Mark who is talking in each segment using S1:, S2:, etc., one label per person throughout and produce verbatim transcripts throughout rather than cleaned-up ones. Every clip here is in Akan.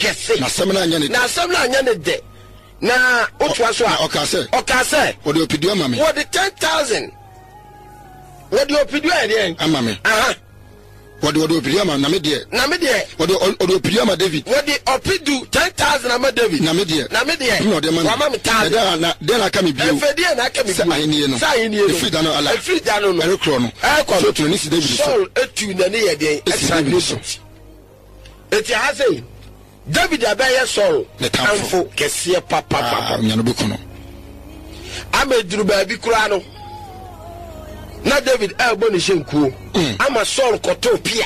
S1: kɛse.
S2: Na asɛm no anyɛ ne
S1: Na asɛm no anyɛ ne dɛ. Na wotoa so a,
S2: Na ɔkaa sɛ,
S1: ɔkaa sɛ,
S2: wɔde ɔpedu ama me.
S1: Wɔde ten thousand, wɔde ɔpedu ayɛ deɛn?
S2: Ama me.
S1: Aha.
S2: wɔde wɔde ɔpedu ama, na me deɛ,
S1: Na me deɛ,
S2: wɔde ɔ- ɔde ɔpedu ama David.
S1: Wɔde ɔpedu ten thousand ama David.
S2: Na me deɛ,
S1: Na me deɛ,
S2: na ɔde ma me.
S1: Wama me thousand.
S2: Ɛda na deɛ na aka me bio?
S1: Ɛfɛ deɛ na aka me
S2: Sɛ
S1: bio?
S2: ahennie no.
S1: Sɛ ahennie no.
S2: Ɛfiri da no ala.
S1: Ɛfiri da no no
S2: ɛrekorɔ no,
S1: ɛrekɔ no,
S2: Saul tu n'ani si David so.
S1: Saul etu n'ani yɛ deɛn?
S2: Esi
S1: Ɛsan
S2: David so.
S1: David. Eti ha sɛ David abɛyɛ Saul
S2: Ne tamfo.
S1: Tamfo kɛseɛ papapapa.
S2: Ah, nya no bɛku no.
S1: Ama eduru baabi koraa no, na David ɛrebɔ ne hyɛnkuo
S2: Mm.
S1: ama Saul kɔtoo pia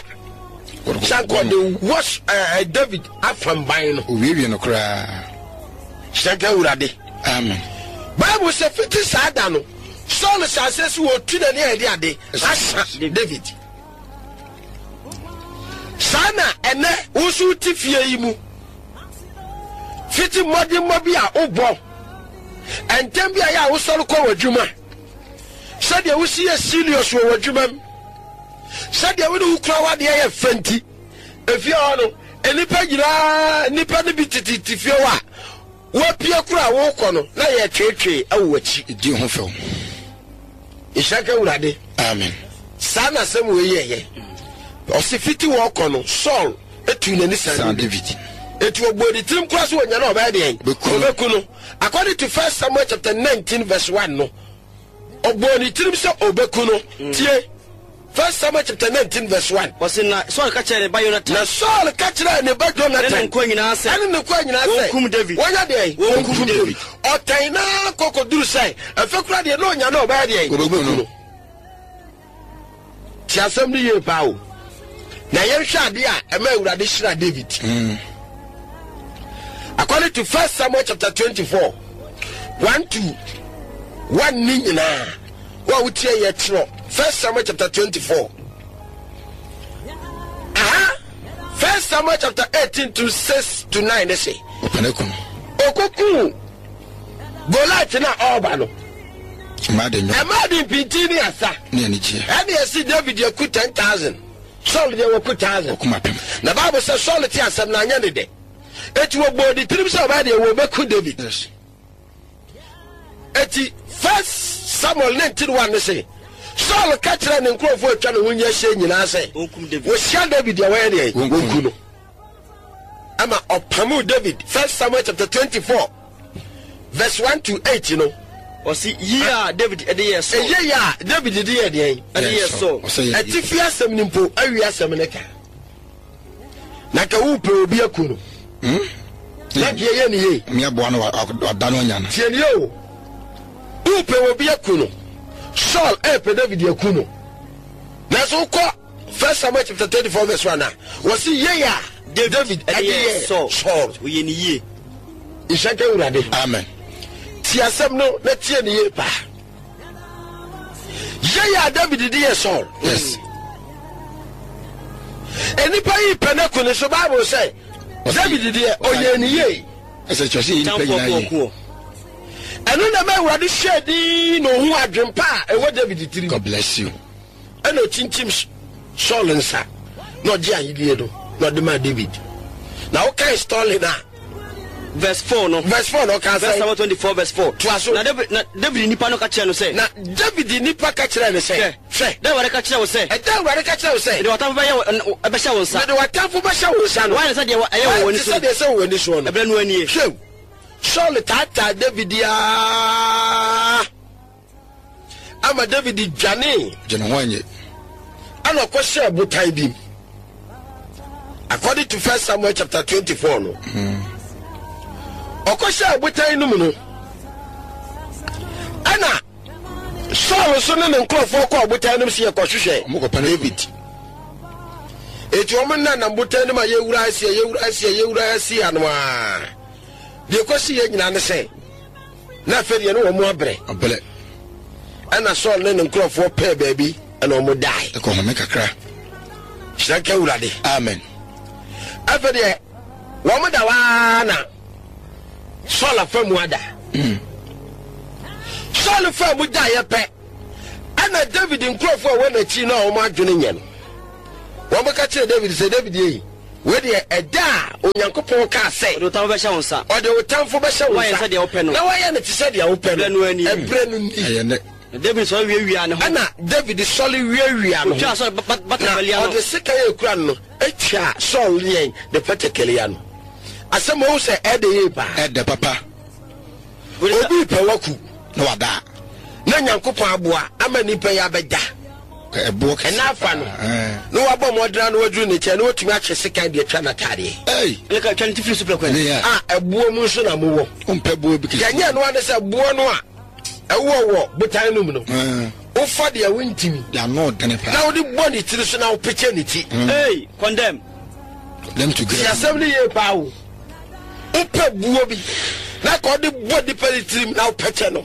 S2: Wɔde
S1: sanka
S2: kɔ-
S1: ɔde wɔ ɛɛ David afamban no.
S2: Owiewie no koraa.
S1: Hyɛnka Awurade.
S2: Amen.
S1: Bible sɛ fiti saa da no, Saul hyɛ aseɛ sɛ wɔtu n'ani a yɛde ade asa David. Saa na ɛnɛ wo nso wote fie yi mu, fiti mmɔdemmɔ bi a wobɔ, ɛntɛm bi a yɛ a wosɔre kɔ w'adwuma, sɛdeɛ wosi yɛ serious wɔ w'adwuma mu, sɛdeɛ wode wo kura w'adeɛ yɛ fɛ nti, efie hɔ no, nnipa nyinaa, nnipa no bi tete fie hɔ a wapue kura a wokɔ no na yɛtweetwee ɛwɔ w'akyi.
S2: Ɛdi ho fɛw.
S1: Nhyira ka Awurade.
S2: Amen.
S1: Saa na asɛm wei yɛyɛ. Ɔse fiti wɔkɔ no, Saul etu n'ani
S2: san
S1: san David.
S2: David.
S1: Eti ɔbɔ ne tirim kora so wɔnya na ɔbɛyɛ deɛn?
S2: Ɔbɛku no.
S1: Ɔbɛku no. According to First Samuel chapter nineteen verse one no, ɔbɔ ne tirim sɛ ɔbɛku no. Tie First Samuel chapter nineteen verse one.
S3: Wɔse na Saul ka kyerɛ ne ba Yonatan
S1: Na Saul ka kyerɛ ne ba
S3: ne ne
S1: Jonathan
S3: nkoa nyinaa sɛ
S1: ɛne ne nkoa nyinaa sɛ
S3: wɔnkum David.
S1: Wɔnyɛ deɛn?
S3: Wɔnkum David.
S1: Ɔtɛn naa kɔkɔduru sɛ ɛfɛ kora deɛ na ɔnya na ɔbɛyɛ deɛn?
S2: Ɔbɛku no.
S1: Ti asɛm no yie paa o. Na yɛnhwɛ adeɛ a ɛma Awurade hyira David.
S2: Mm.
S1: According to First Samuel chapter twenty-four one to one ne nyinaa, wo a wotie yɛ, twerɛ First Samuel chapter twenty-four aha. First Samuel chapter eighteen to six to nine ne se
S2: ɔpɛ no ku no.
S1: Okokuu Goliath na ɔreba no,
S2: mmaa de nnwom
S1: ɛmaa de mpintin ne asa
S2: ne anigyeɛ.
S1: Ɛne ɛsi David aku ten thousand, Saul deɛ wɔku thousand.
S2: Ɔkum apem.
S1: Na Bible sɛ Saul te asɛm na anyɛ ne dɛ, eti wɔbɔɔ ne tirim sɛ ɔbɛyɛ deɛ wɔbɛku David.
S2: Yes
S1: Eti First Samuel nineteen one ne se Saul ka kyerɛ ne nkurɔfoɔ atwa ne ho nyɛ hyɛ nyinaa sɛ
S3: wɔnkum David.
S1: Wɔhyia David deɛ, wɔyɛ deɛ?
S2: Wɔnku
S1: wɔnku no. Ama ɔpamu David. First Samuel chapter twenty-four verse one to eight no.
S3: Ɔse yie a David de yɛɛ Saul.
S1: Ɛyɛ yɛ a David de yɛ deɛn?
S3: Ɛde yɛɛ Saul.
S2: Ɔsɛ yɛ.
S1: Ɛtifi asɛm no mpo awi asɛm no ka na ka wopɛ obi aku no na deɛ yɛ ne yie.
S2: Mmeaboa no wa- wada no anya no.
S1: Tie nie o, wopɛ obi aku no, Saul ɛpɛ David aku no, nanso wokɔ First Samuel chapter twenty-four verse one a, wɔsi yie a David ɛde yɛ
S3: Saul.
S1: Saul.
S3: Ɔyɛ ne yie.
S1: Nhyɛ nka Awurade.
S2: Amen.
S1: Tie asɛm no na tie ne yie paa. Yie a David de yɛ Saul,
S2: yes
S1: nnipa yi pɛ no aku ne so, Bible sɛ David deɛ, ɔyɛ ne yie.
S2: Ɛsɛ kyerɛ sɛ yɛ nipa
S3: tamfoɔ
S2: nyinaa yie.
S3: kɔɔkoɔ.
S1: Ɛno na ma Awurade hyɛɛ din na ohu adwempa a ɛwɔ David tirim.
S2: God bless you.
S1: Ɛna ɔkyinkyim Saul nsa na ɔgye ahennie no na ɔde maa David. Na wokae story no a,
S3: Verse four no.
S1: Verse four na ɔka
S3: First
S1: sɛ
S3: Samuel twenty-four verse four.
S1: Toa so.
S3: Na David na David nipa no ka kyerɛ no sɛ,
S1: Na David nipa ka kyerɛɛ no sɛ,
S3: hwɛ,
S1: hwɛ,
S3: da Awurade ka kyerɛ wo sɛ,
S1: ɛda Awurade ka kyerɛ wo sɛ,
S3: mede w'atamfo bɛyɛ wo ɛbɛhyɛ wo nsa.
S1: Mede w'atamfo bɛhyɛ wo nsa no,
S3: Woayɛ no sɛdeɛ ɛyɛ wɔ w'ani
S1: te
S3: so.
S1: sɛdeɛ ɛsɛ wɔ w'ani soɔ no.
S3: Ɛberɛ no anie.
S1: Hwɛ, Saul taataa David aa ama David dwanee.
S2: Gye ne ho anyɛ.
S1: Ɛna ɔkɔhyɛɛ botan bi mu. According to First Samuel chapter twenty-four no, ɔkɔhyɛɛ botan no mu no, ɛna Saul nso ne ne nkurɔfoɔ kɔɔ botan no mu sɛ yɛkɔhwehwɛ
S2: Ɔmo kɔpɛ no.
S1: David. Eti wɔn nenam botan no mu a, yɛwura aseɛ, yɛwura aseɛ, yɛwura aseɛ ano a, deɛ kɔsi yɛ nyinaa ne sɛ na afei deɛ ne wɔn abrɛ.
S2: Ɔbɛlɛ.
S1: Ɛna Saul ne ne nkurɔfoɔ pɛɛ baabi ɛna wɔn dae.
S2: Ɛkɔ home kakra.
S1: Hyerɛ nka Awurade.
S2: Amen.
S1: Afei deɛ wɔn da waa na Saul afa mu ada. Saul fa mu da yɛ pɛ, ɛna David nkurɔfoɔ a wɔn n'akyi na wɔn adwene nyɛ no, wɔn ka kyerɛ David sɛ, David yɛ Wei deɛ, ɛda a Onyankopɔn kaa sɛ.
S3: Ɔde wo tamfo bɛhyɛ wo nsa.
S1: Ɔde wo tamfo bɛhyɛ wo
S3: Woayɛ
S1: nsa.
S3: sɛdeɛ wopɛ no.
S1: Na woayɛ no te sɛ deɛ wopɛ no.
S3: Ɛberɛ no ani.
S1: Ɛberɛ no ni.
S2: Ɛyɛ nnɛ.
S3: Na David sɔre wiawiaa ne ho.
S1: Ɛnna David sɔre wiawiaa ne ho.
S3: Ɔtwaa Saul ba-
S1: Na
S3: batakari ano.
S1: ɔde sekan a ekura no no twaa Saul yɛn ne patakari ano. Asɛm a wohu sɛ ɛdɛ yie paa.
S2: Ɛdɛ papa.
S1: Obi repɛ waku.
S2: Na wada.
S1: Na Nyankopɔn aboa ama nipa yi abɛda.
S2: Ɛboɔ kɛse.
S1: Ɛna afa no. Na wabɔ mmɔdena na waduru ne nkyɛn na watumi atwe sekan de atwa n'ataadeɛ.
S2: Ei.
S3: Ɛna ka twa ne ti firi so prɛko.
S2: Ne yɛ.
S1: A ɛboɔ mu nso na mowɔ.
S2: Wompɛ boɔ bi kɛse.
S1: Deɛ nyɛ ɛno ane sɛ boɔ no a ɛwɔ wɔ botan no mu no. Wofa deɛ wontimi.
S2: Deɛ ano dene paa.
S1: Na wode bɔ ne tiri so na wopɛkyɛ ne ti.
S3: Ei, condemn.
S2: Them to
S1: Ti
S2: get.
S1: asɛm no yie paa o. Wopɛ buo bi na ka ɔde bɔ nipa ne tirim na wopɛkyɛ no.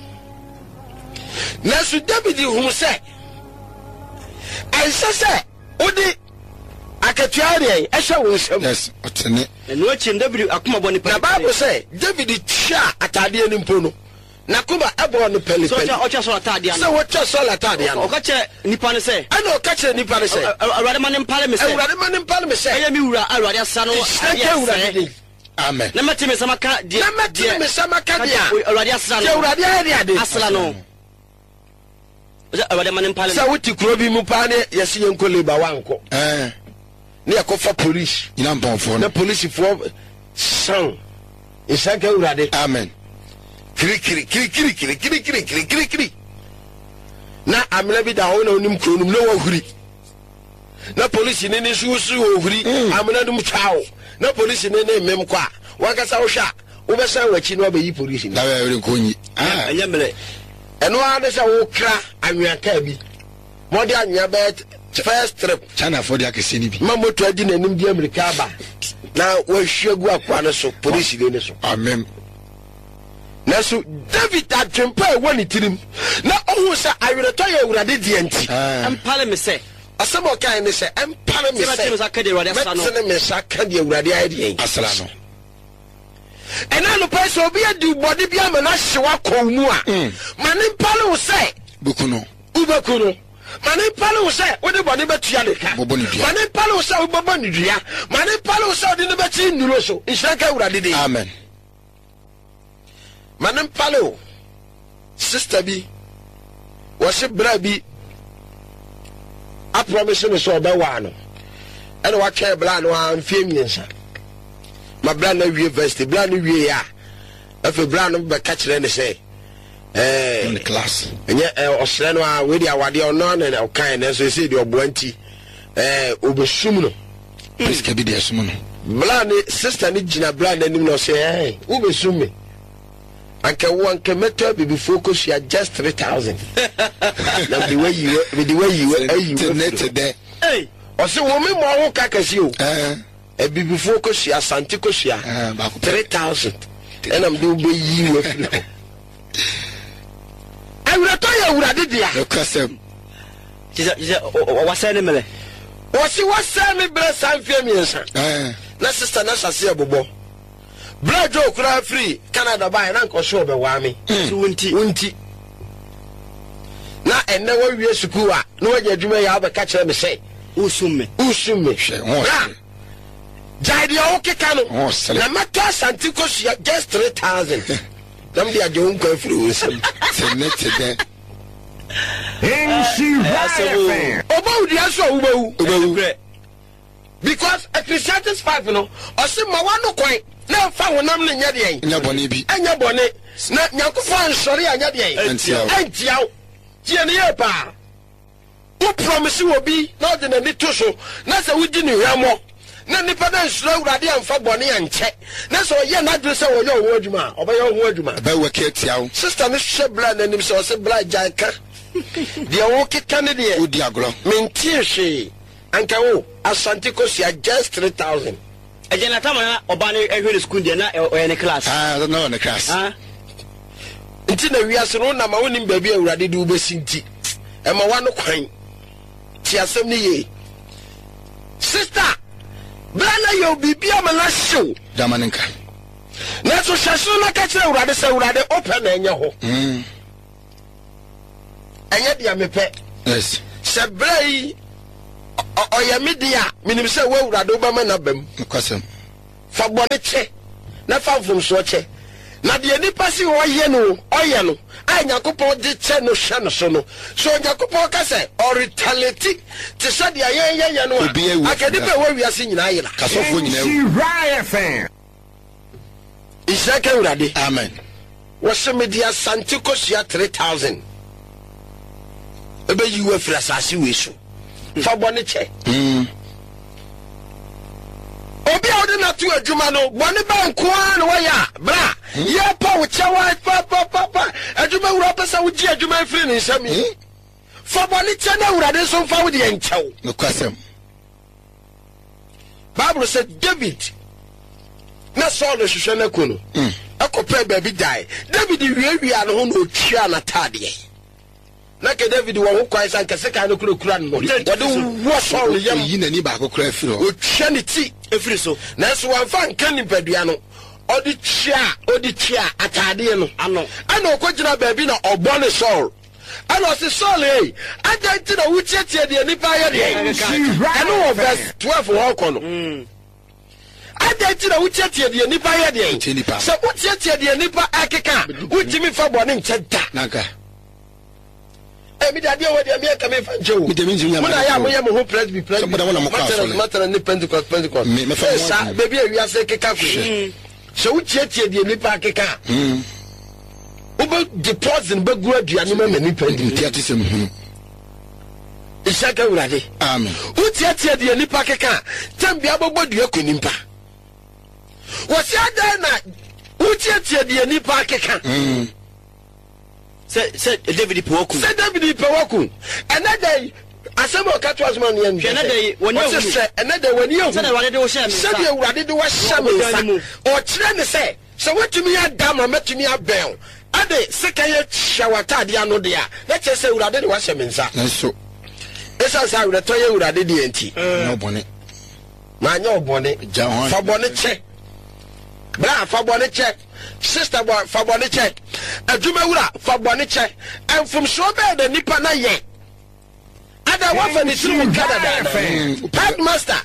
S1: Nanso David hu sɛ ɛnsɛ sɛ wode akatua deɛ ɛhyɛ wo nsam.
S2: Yes, ɔtene.
S3: Ɛno akyi no David akoma bɔ ne
S1: Na Bible sɛ David tua ataadeɛ no mpo no, n'akoma ɛbɔɔ no
S3: Sɛ
S1: pɛlipɛli.
S3: ɔtwa ɔtwa Saul ataadeɛ
S1: Sɛ
S3: ano.
S1: wɔtwa Saul ataadeɛ ano.
S3: Ɔka kyerɛ nipa no sɛ.
S1: Ɛna ɔka kyerɛ nipa no sɛ.
S3: Ɛ- Ɛ- Awurade ma ne mpale me sɛ.
S1: Awurade ma ne mpale me sɛ.
S3: Ɛyɛ me wura a Awurade asra no
S1: Nhyira
S3: adeɛ
S1: nka Awurade
S3: sɛɛ.
S1: din.
S2: Amen.
S3: Na mɛte me nsa maka deɛ.
S1: Na mɛtene me nsa maka deɛ a.
S3: Awurade asra no.
S1: Deɛ Awurade ayɛ de ade.
S3: Asra no. Sɛ Awurade ma ne mpale me.
S1: Sɛ wote kuro bi mu paa ne yɛsi yɛn nkɔ labour wankɔ.
S2: Ɛɛ.
S1: Ne yɛkɔfa police.
S2: Nyina mpɔnfoɔ
S1: Na
S2: no.
S1: polisifoɔ san nhyira nka Awurade.
S2: Amen.
S1: Kirikiri kirikiri kirikiri kirikiri kirikiri. Na amena bi da hɔ na onim kuro no mu na wahuri. Na polisi ne ne nso wosi ohuri amena no mu twa o. Na polisi ne ne mmem kɔ a wankasa wohwɛ a wobɛsan w'akyi na wabɛyi polisi no.
S2: Dawe ɛwere nkɔ nyi. Ah.
S3: Ɛnyɛ mmerɛ.
S1: Ɛno ara ne sɛ wokra anwea kaa bi. Ma ɔde anwea bɛyɛ first trip.
S2: Chinafoɔ de akɛseɛ no bi.
S1: Ma moto adi n'anim di amirika aba na wahwie gu akoa no so polisi ne so.
S2: Amen.
S1: Nanso David adwempa a ɛwɔ ne tirim na ɔhu sɛ awerɛtɔ yɛ Awurade deɛ nti.
S2: Ɛɛ.
S3: Mpale me sɛ.
S1: Asɛm a ɔkae ne sɛ ɛmpare me
S3: Sɛ mɛtene me
S1: sɛ
S3: nsa aka deɛ Awurade asra no.
S1: mɛtene me nsa ka deɛ Awurade ayɛ deɛ.
S2: Asra no.
S1: Ɛna anɔpa yi sɛ obi adi bɔne bi ama no ahye w'akɔ wo mu a, ma ne mpale wo sɛ
S2: Bɛku no.
S1: wobɛku no. Ma ne mpale wo sɛ wode bɔne bɛtua ne ka.
S2: Bɔbɔ ne dua.
S1: Ma ne mpale wo sɛ wobɛbɔ ne dua. Ma ne mpale wo sɛ wode no bɛkyi nnuro so. Nhyira nka Awurade din.
S2: Amen.
S1: Ma ne mpale wo. Sister bi wɔse bra bi apromise no sɛ ɔbɛwaa no. Ɛna watwɛn bra no a mfeɛ mmiɛnsa. Ma bra no awie varsity. Bra no wie a afei bra no bɛka kyerɛ ne sɛ ɛɛ
S2: Ne class.
S1: ɛnyɛ ɛ ɔsrɛ no a wei de awadeɛ ɔno ana na ɔkae nanso ɛsɛ deɛ ɔboa nti ɛɛ ɔbɛsum no.
S2: Prisca bi de ɛsom no.
S1: Bra ne sister ne gyina bra n'anim na ɔsɛ ɛɛ wobɛsum me anka wo anka mɛtɔ abibifoɔ kosua just three thousand na mede wayi mede wayi ayi
S2: Te ne te
S1: wafiri
S2: dɛ.
S3: Ei.
S1: ɔsɛ wo me mmɔ ho ka kɛse o
S2: Ɛɛ.
S1: abibifoɔ kosua Asante kosua
S2: Ɛɛ baako pɛ.
S1: three thousand ɛna mede wobɛyi wafiri hɔ. Awerɛtɔ yɛ Awurade dea.
S2: Ɛkasɛm.
S3: Kyerɛ sɛ wasɛe ne mmerɛ.
S1: Wɔsi wasɛe me berɛ saa mfeɛ mmiɛnsa.
S2: Ɛɛ.
S1: Na sister na hyɛ bobɔ berɛ dwo koraa firi Canada baeɛ na nkɔ so ɔbɛwaa me.
S3: So wo nti.
S1: Wo nti na ɛnnɛ wawie sukuu a na wanya adwuma yɛ a wobɛka kyerɛ me sɛ
S3: Wosum me.
S1: wosum me.
S2: Hwɛ, ho
S1: Bra,
S2: ɔsere.
S1: gyae deɛ wokeka no
S2: Ho ɔsere.
S1: na mɛtɔ Asante kosua just three thousand na mede agye wo nkwa afiri wo nsam.
S2: Te ne te dɛ.
S1: Ɔbɔ wo dua so a wobɛwu.
S2: Wobɛwu.
S1: Because Ecclesiastes five no ɔse ma wano kwan na ɛmfa honam no nyɛ deɛn.
S2: Nyɛ bɔne bi.
S1: Ɛnyɛ bɔne na Nyankopɔn ansɔre anyɛ deɛn.
S2: Ɛntia wo.
S1: Ɛntia wo. Tie ne yie paa. Wo promise wɔ bi na ɔde n'ani to so na sɛ wodi ne hwammɔ na nipa no ansuro Awurade amfa bɔne ankyɛ na sɛ ɔyɛ n'adwene sɛ ɔyɛ ɔho adwuma a ɔbɛyɛ ɔho adwuma.
S2: Ɛbɛwɔ kɛ tia wo.
S1: Sister no hwɛ bra n'anim sɛ ɔsɛ bra gyae ka deɛ wokeka ne deɛ.
S2: Wodi agorɔ.
S1: Mentie hwee anka wo Asante kosua just three thousand.
S3: Ɛgya na tama na ɔbaa no ɛhwɛ ne sukuu deɛ na ɔyɛ ne class.
S2: Ah, na ɔyɛ ne class.
S3: Ah.
S1: Nti na wiase no wonam a wonim baabi a Awurade de wobɛsi nti ɛma wano kwan. Te asɛm no yie. Sister, bra na yɛ biribi ama no ahyew.
S2: Dama ne nka.
S1: Nanso hyɛ soro na ka kyerɛ Awurade sɛ Awurade wopɛ na ɛnyɛ hɔ.
S2: Mm.
S1: Ɛnyɛ deɛ mepɛ.
S2: Yes.
S1: Sɛ berɛ yi Ɔyɛ me deɛ a, menim sɛ wo Awurade wobɛma n'aba mu.
S2: Nokwasɛm.
S1: Fa bɔne kyɛ na fa mfomsoɔ kyɛ. Na deɛ nipa si ɔyɛ no, ɔyɛ no, a Nyankopɔn de kyɛ no hyɛ no so no. So Onyankopɔn ka sɛ ɔretaliate te sɛ deɛ yɛn yɛyɛ no a, anka nipa a ɛwɔ wiase nyinaa yera.
S2: Kasɔfoɔ nyinaa awu.
S4: Nhyira F M.
S1: Nhyira nka Awurade.
S2: Amen.
S1: Wɔse mede Asante kosua three thousand ɛbɛyi wo afiri asase wei so. Fa bɔne kyɛ.
S2: Mm.
S1: Obi a wode no ato adwuma no, bɔne bɛn nko ara na wayɛ a, bra, yɛrepa wo kyɛw a, pa, pa, pa, pa. Adwuma wura pɛ sɛ wogye adwuma firi ne nsam yi. Fa bɔne kyɛ na Awurade nso mfa wo deɛ nkyɛ wo.
S2: Nokwasɛm.
S1: Bible sɛ David na Saul hwehwɛ no aku no, ɛkɔpɛɛ baabi dae. David wiawia ne ho na otwaa n'ataadeɛ. Na nka David wɔ ho kwan sɛ anka sekan no kurakura no no, wɔde wɔ Saul yam.
S2: Oyi n'ani baako koraa firi hɔ.
S1: Otwa ne ti
S3: efiri so.
S1: Nanso wamfa nka nipadua no, ɔde tua, ɔde tua ataadeɛ no.
S3: Ano.
S1: Ɛna ɔkɔgyina baabi na ɔbɔ ne Saul. Ɛna ɔse, Saul ei, adɛn nti na wotietie deɛ nnipa ayɛ deɛ? Ɛno wɔ verse twelve hɔ kɔ no. Adɛn nti na wotietie deɛ nnipa ayɛ deɛ?
S2: Wotie nnipa.
S1: Sɛ wotietie deɛ nnipa ɛkeka a, wontumi mfa bɔne nkyɛ da.
S2: Nanka.
S1: Eh, mi de adeɛ wɔ deɛ mi nka mi nfa nkyɛ o.
S2: Mi de mi ntumi nya
S1: Mo na yɛ a
S2: ma
S1: moyɛ mo ho presby presby.
S2: Sɛ mo da mo na mo kɔ
S1: Matɛnɛs
S2: asɔre.
S1: matɛnɛs ne Pentecost Pentecost.
S2: Me- mɛfa
S1: Eh,
S2: mo
S1: saa
S2: adwene.
S1: baabi a wiase keka kɔ yi. Sɛ wotietie deɛ nnipa akeka a, wobɛ de poison bɛgu aduane mu ama nnipa di.
S2: Nti ate sɛm hunu.
S1: Nhyira ka Awurade.
S2: Amen.
S1: Wotietie deɛ nnipa keka a, tɛm bia bɛbɔ dua kɔ nnipa. Wɔsi adan na wotietie deɛ nnipa akeka.
S3: Sɛ, sɛ David pɛ waku.
S1: Sɛ David pɛ waku. Ɛnɛ da yi, asɛm a ɔka to asoma no yɛ
S3: Hwɛ, ɛnɛ da yi, w'ani
S1: Ɔse
S3: ahunu.
S1: hwɛ, ɛnɛ da yi, w'ani ahunu.
S3: Sɛdeɛ Awurade de wo hyɛɛ me nsa.
S1: Sɛdeɛ Awurade de wo ahyɛ me
S3: Wɔ ɔbodan
S1: nsa.
S3: no mu.
S1: Ɔkyerɛ ne sɛ, sɛ woatumi ada ma mɛtumi abɛn wo, ɛde sekan ahyɛ w'ataadeɛ ano deɛ a, na kyerɛ sɛ Awurade de woahyɛ me nsa.
S2: Nanso.
S1: Ɛsiane sɛ awerɛtɔ yɛ Awurade deɛ nti.
S2: Nyɛ ɔbɔne.
S1: Manyɛ ɔbɔne.
S2: Gya ho
S1: Fa bɔne kyɛ. Bra, fa bɔne kyɛ. Sister bɔ, fa bɔne kyɛ. Adwumawura, fa bɔne kyɛ. Mfomsoɔ bɛyɛ na nipa na yɛ. Ada wafa ne tiri mu ka dadaada. Headmaster,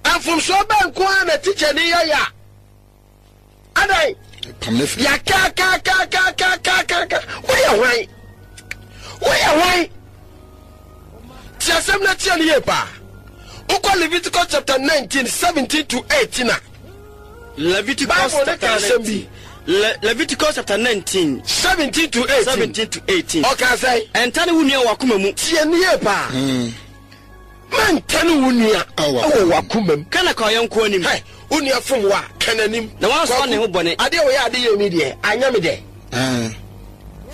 S1: mfomsoɔ bɛn nko ara na teacher ni yɛ yɛ a. Adan,
S2: Pam ne firi.
S1: yɛ ka ka ka ka ka ka ka. Woyɛ hwan? Woyɛ hwan? Ti asɛm na tie no yie paa. Wokɔ Leviticus chapter nineteen, seventeen to eighteen a.
S3: Leviticus
S1: Bible ne
S3: chapter
S1: ka asɛm bi.
S3: nineteen. Le- Leviticus chapter nineteen.
S1: seventeen to eighteen.
S3: seventeen to eighteen.
S1: Ɔka sɛ.
S3: Ɛnta ne wo nua wɔ akoma mu.
S1: Tie ne yie paa. Mɛnta ne wo nua
S2: Ɛwɔ
S1: ɛwɔ w'akoma mu.
S3: Ka na ka ɔyɛ nko anim.
S1: Hɛ, wo nua fom wo a, ka n'anim.
S3: Na wansoa
S1: Kwaku,
S3: ne ho bɔne.
S1: Adeɛ a wɔyɛ ade yɛ mi deɛ, anyɛ me dɛ.
S2: Ɛn.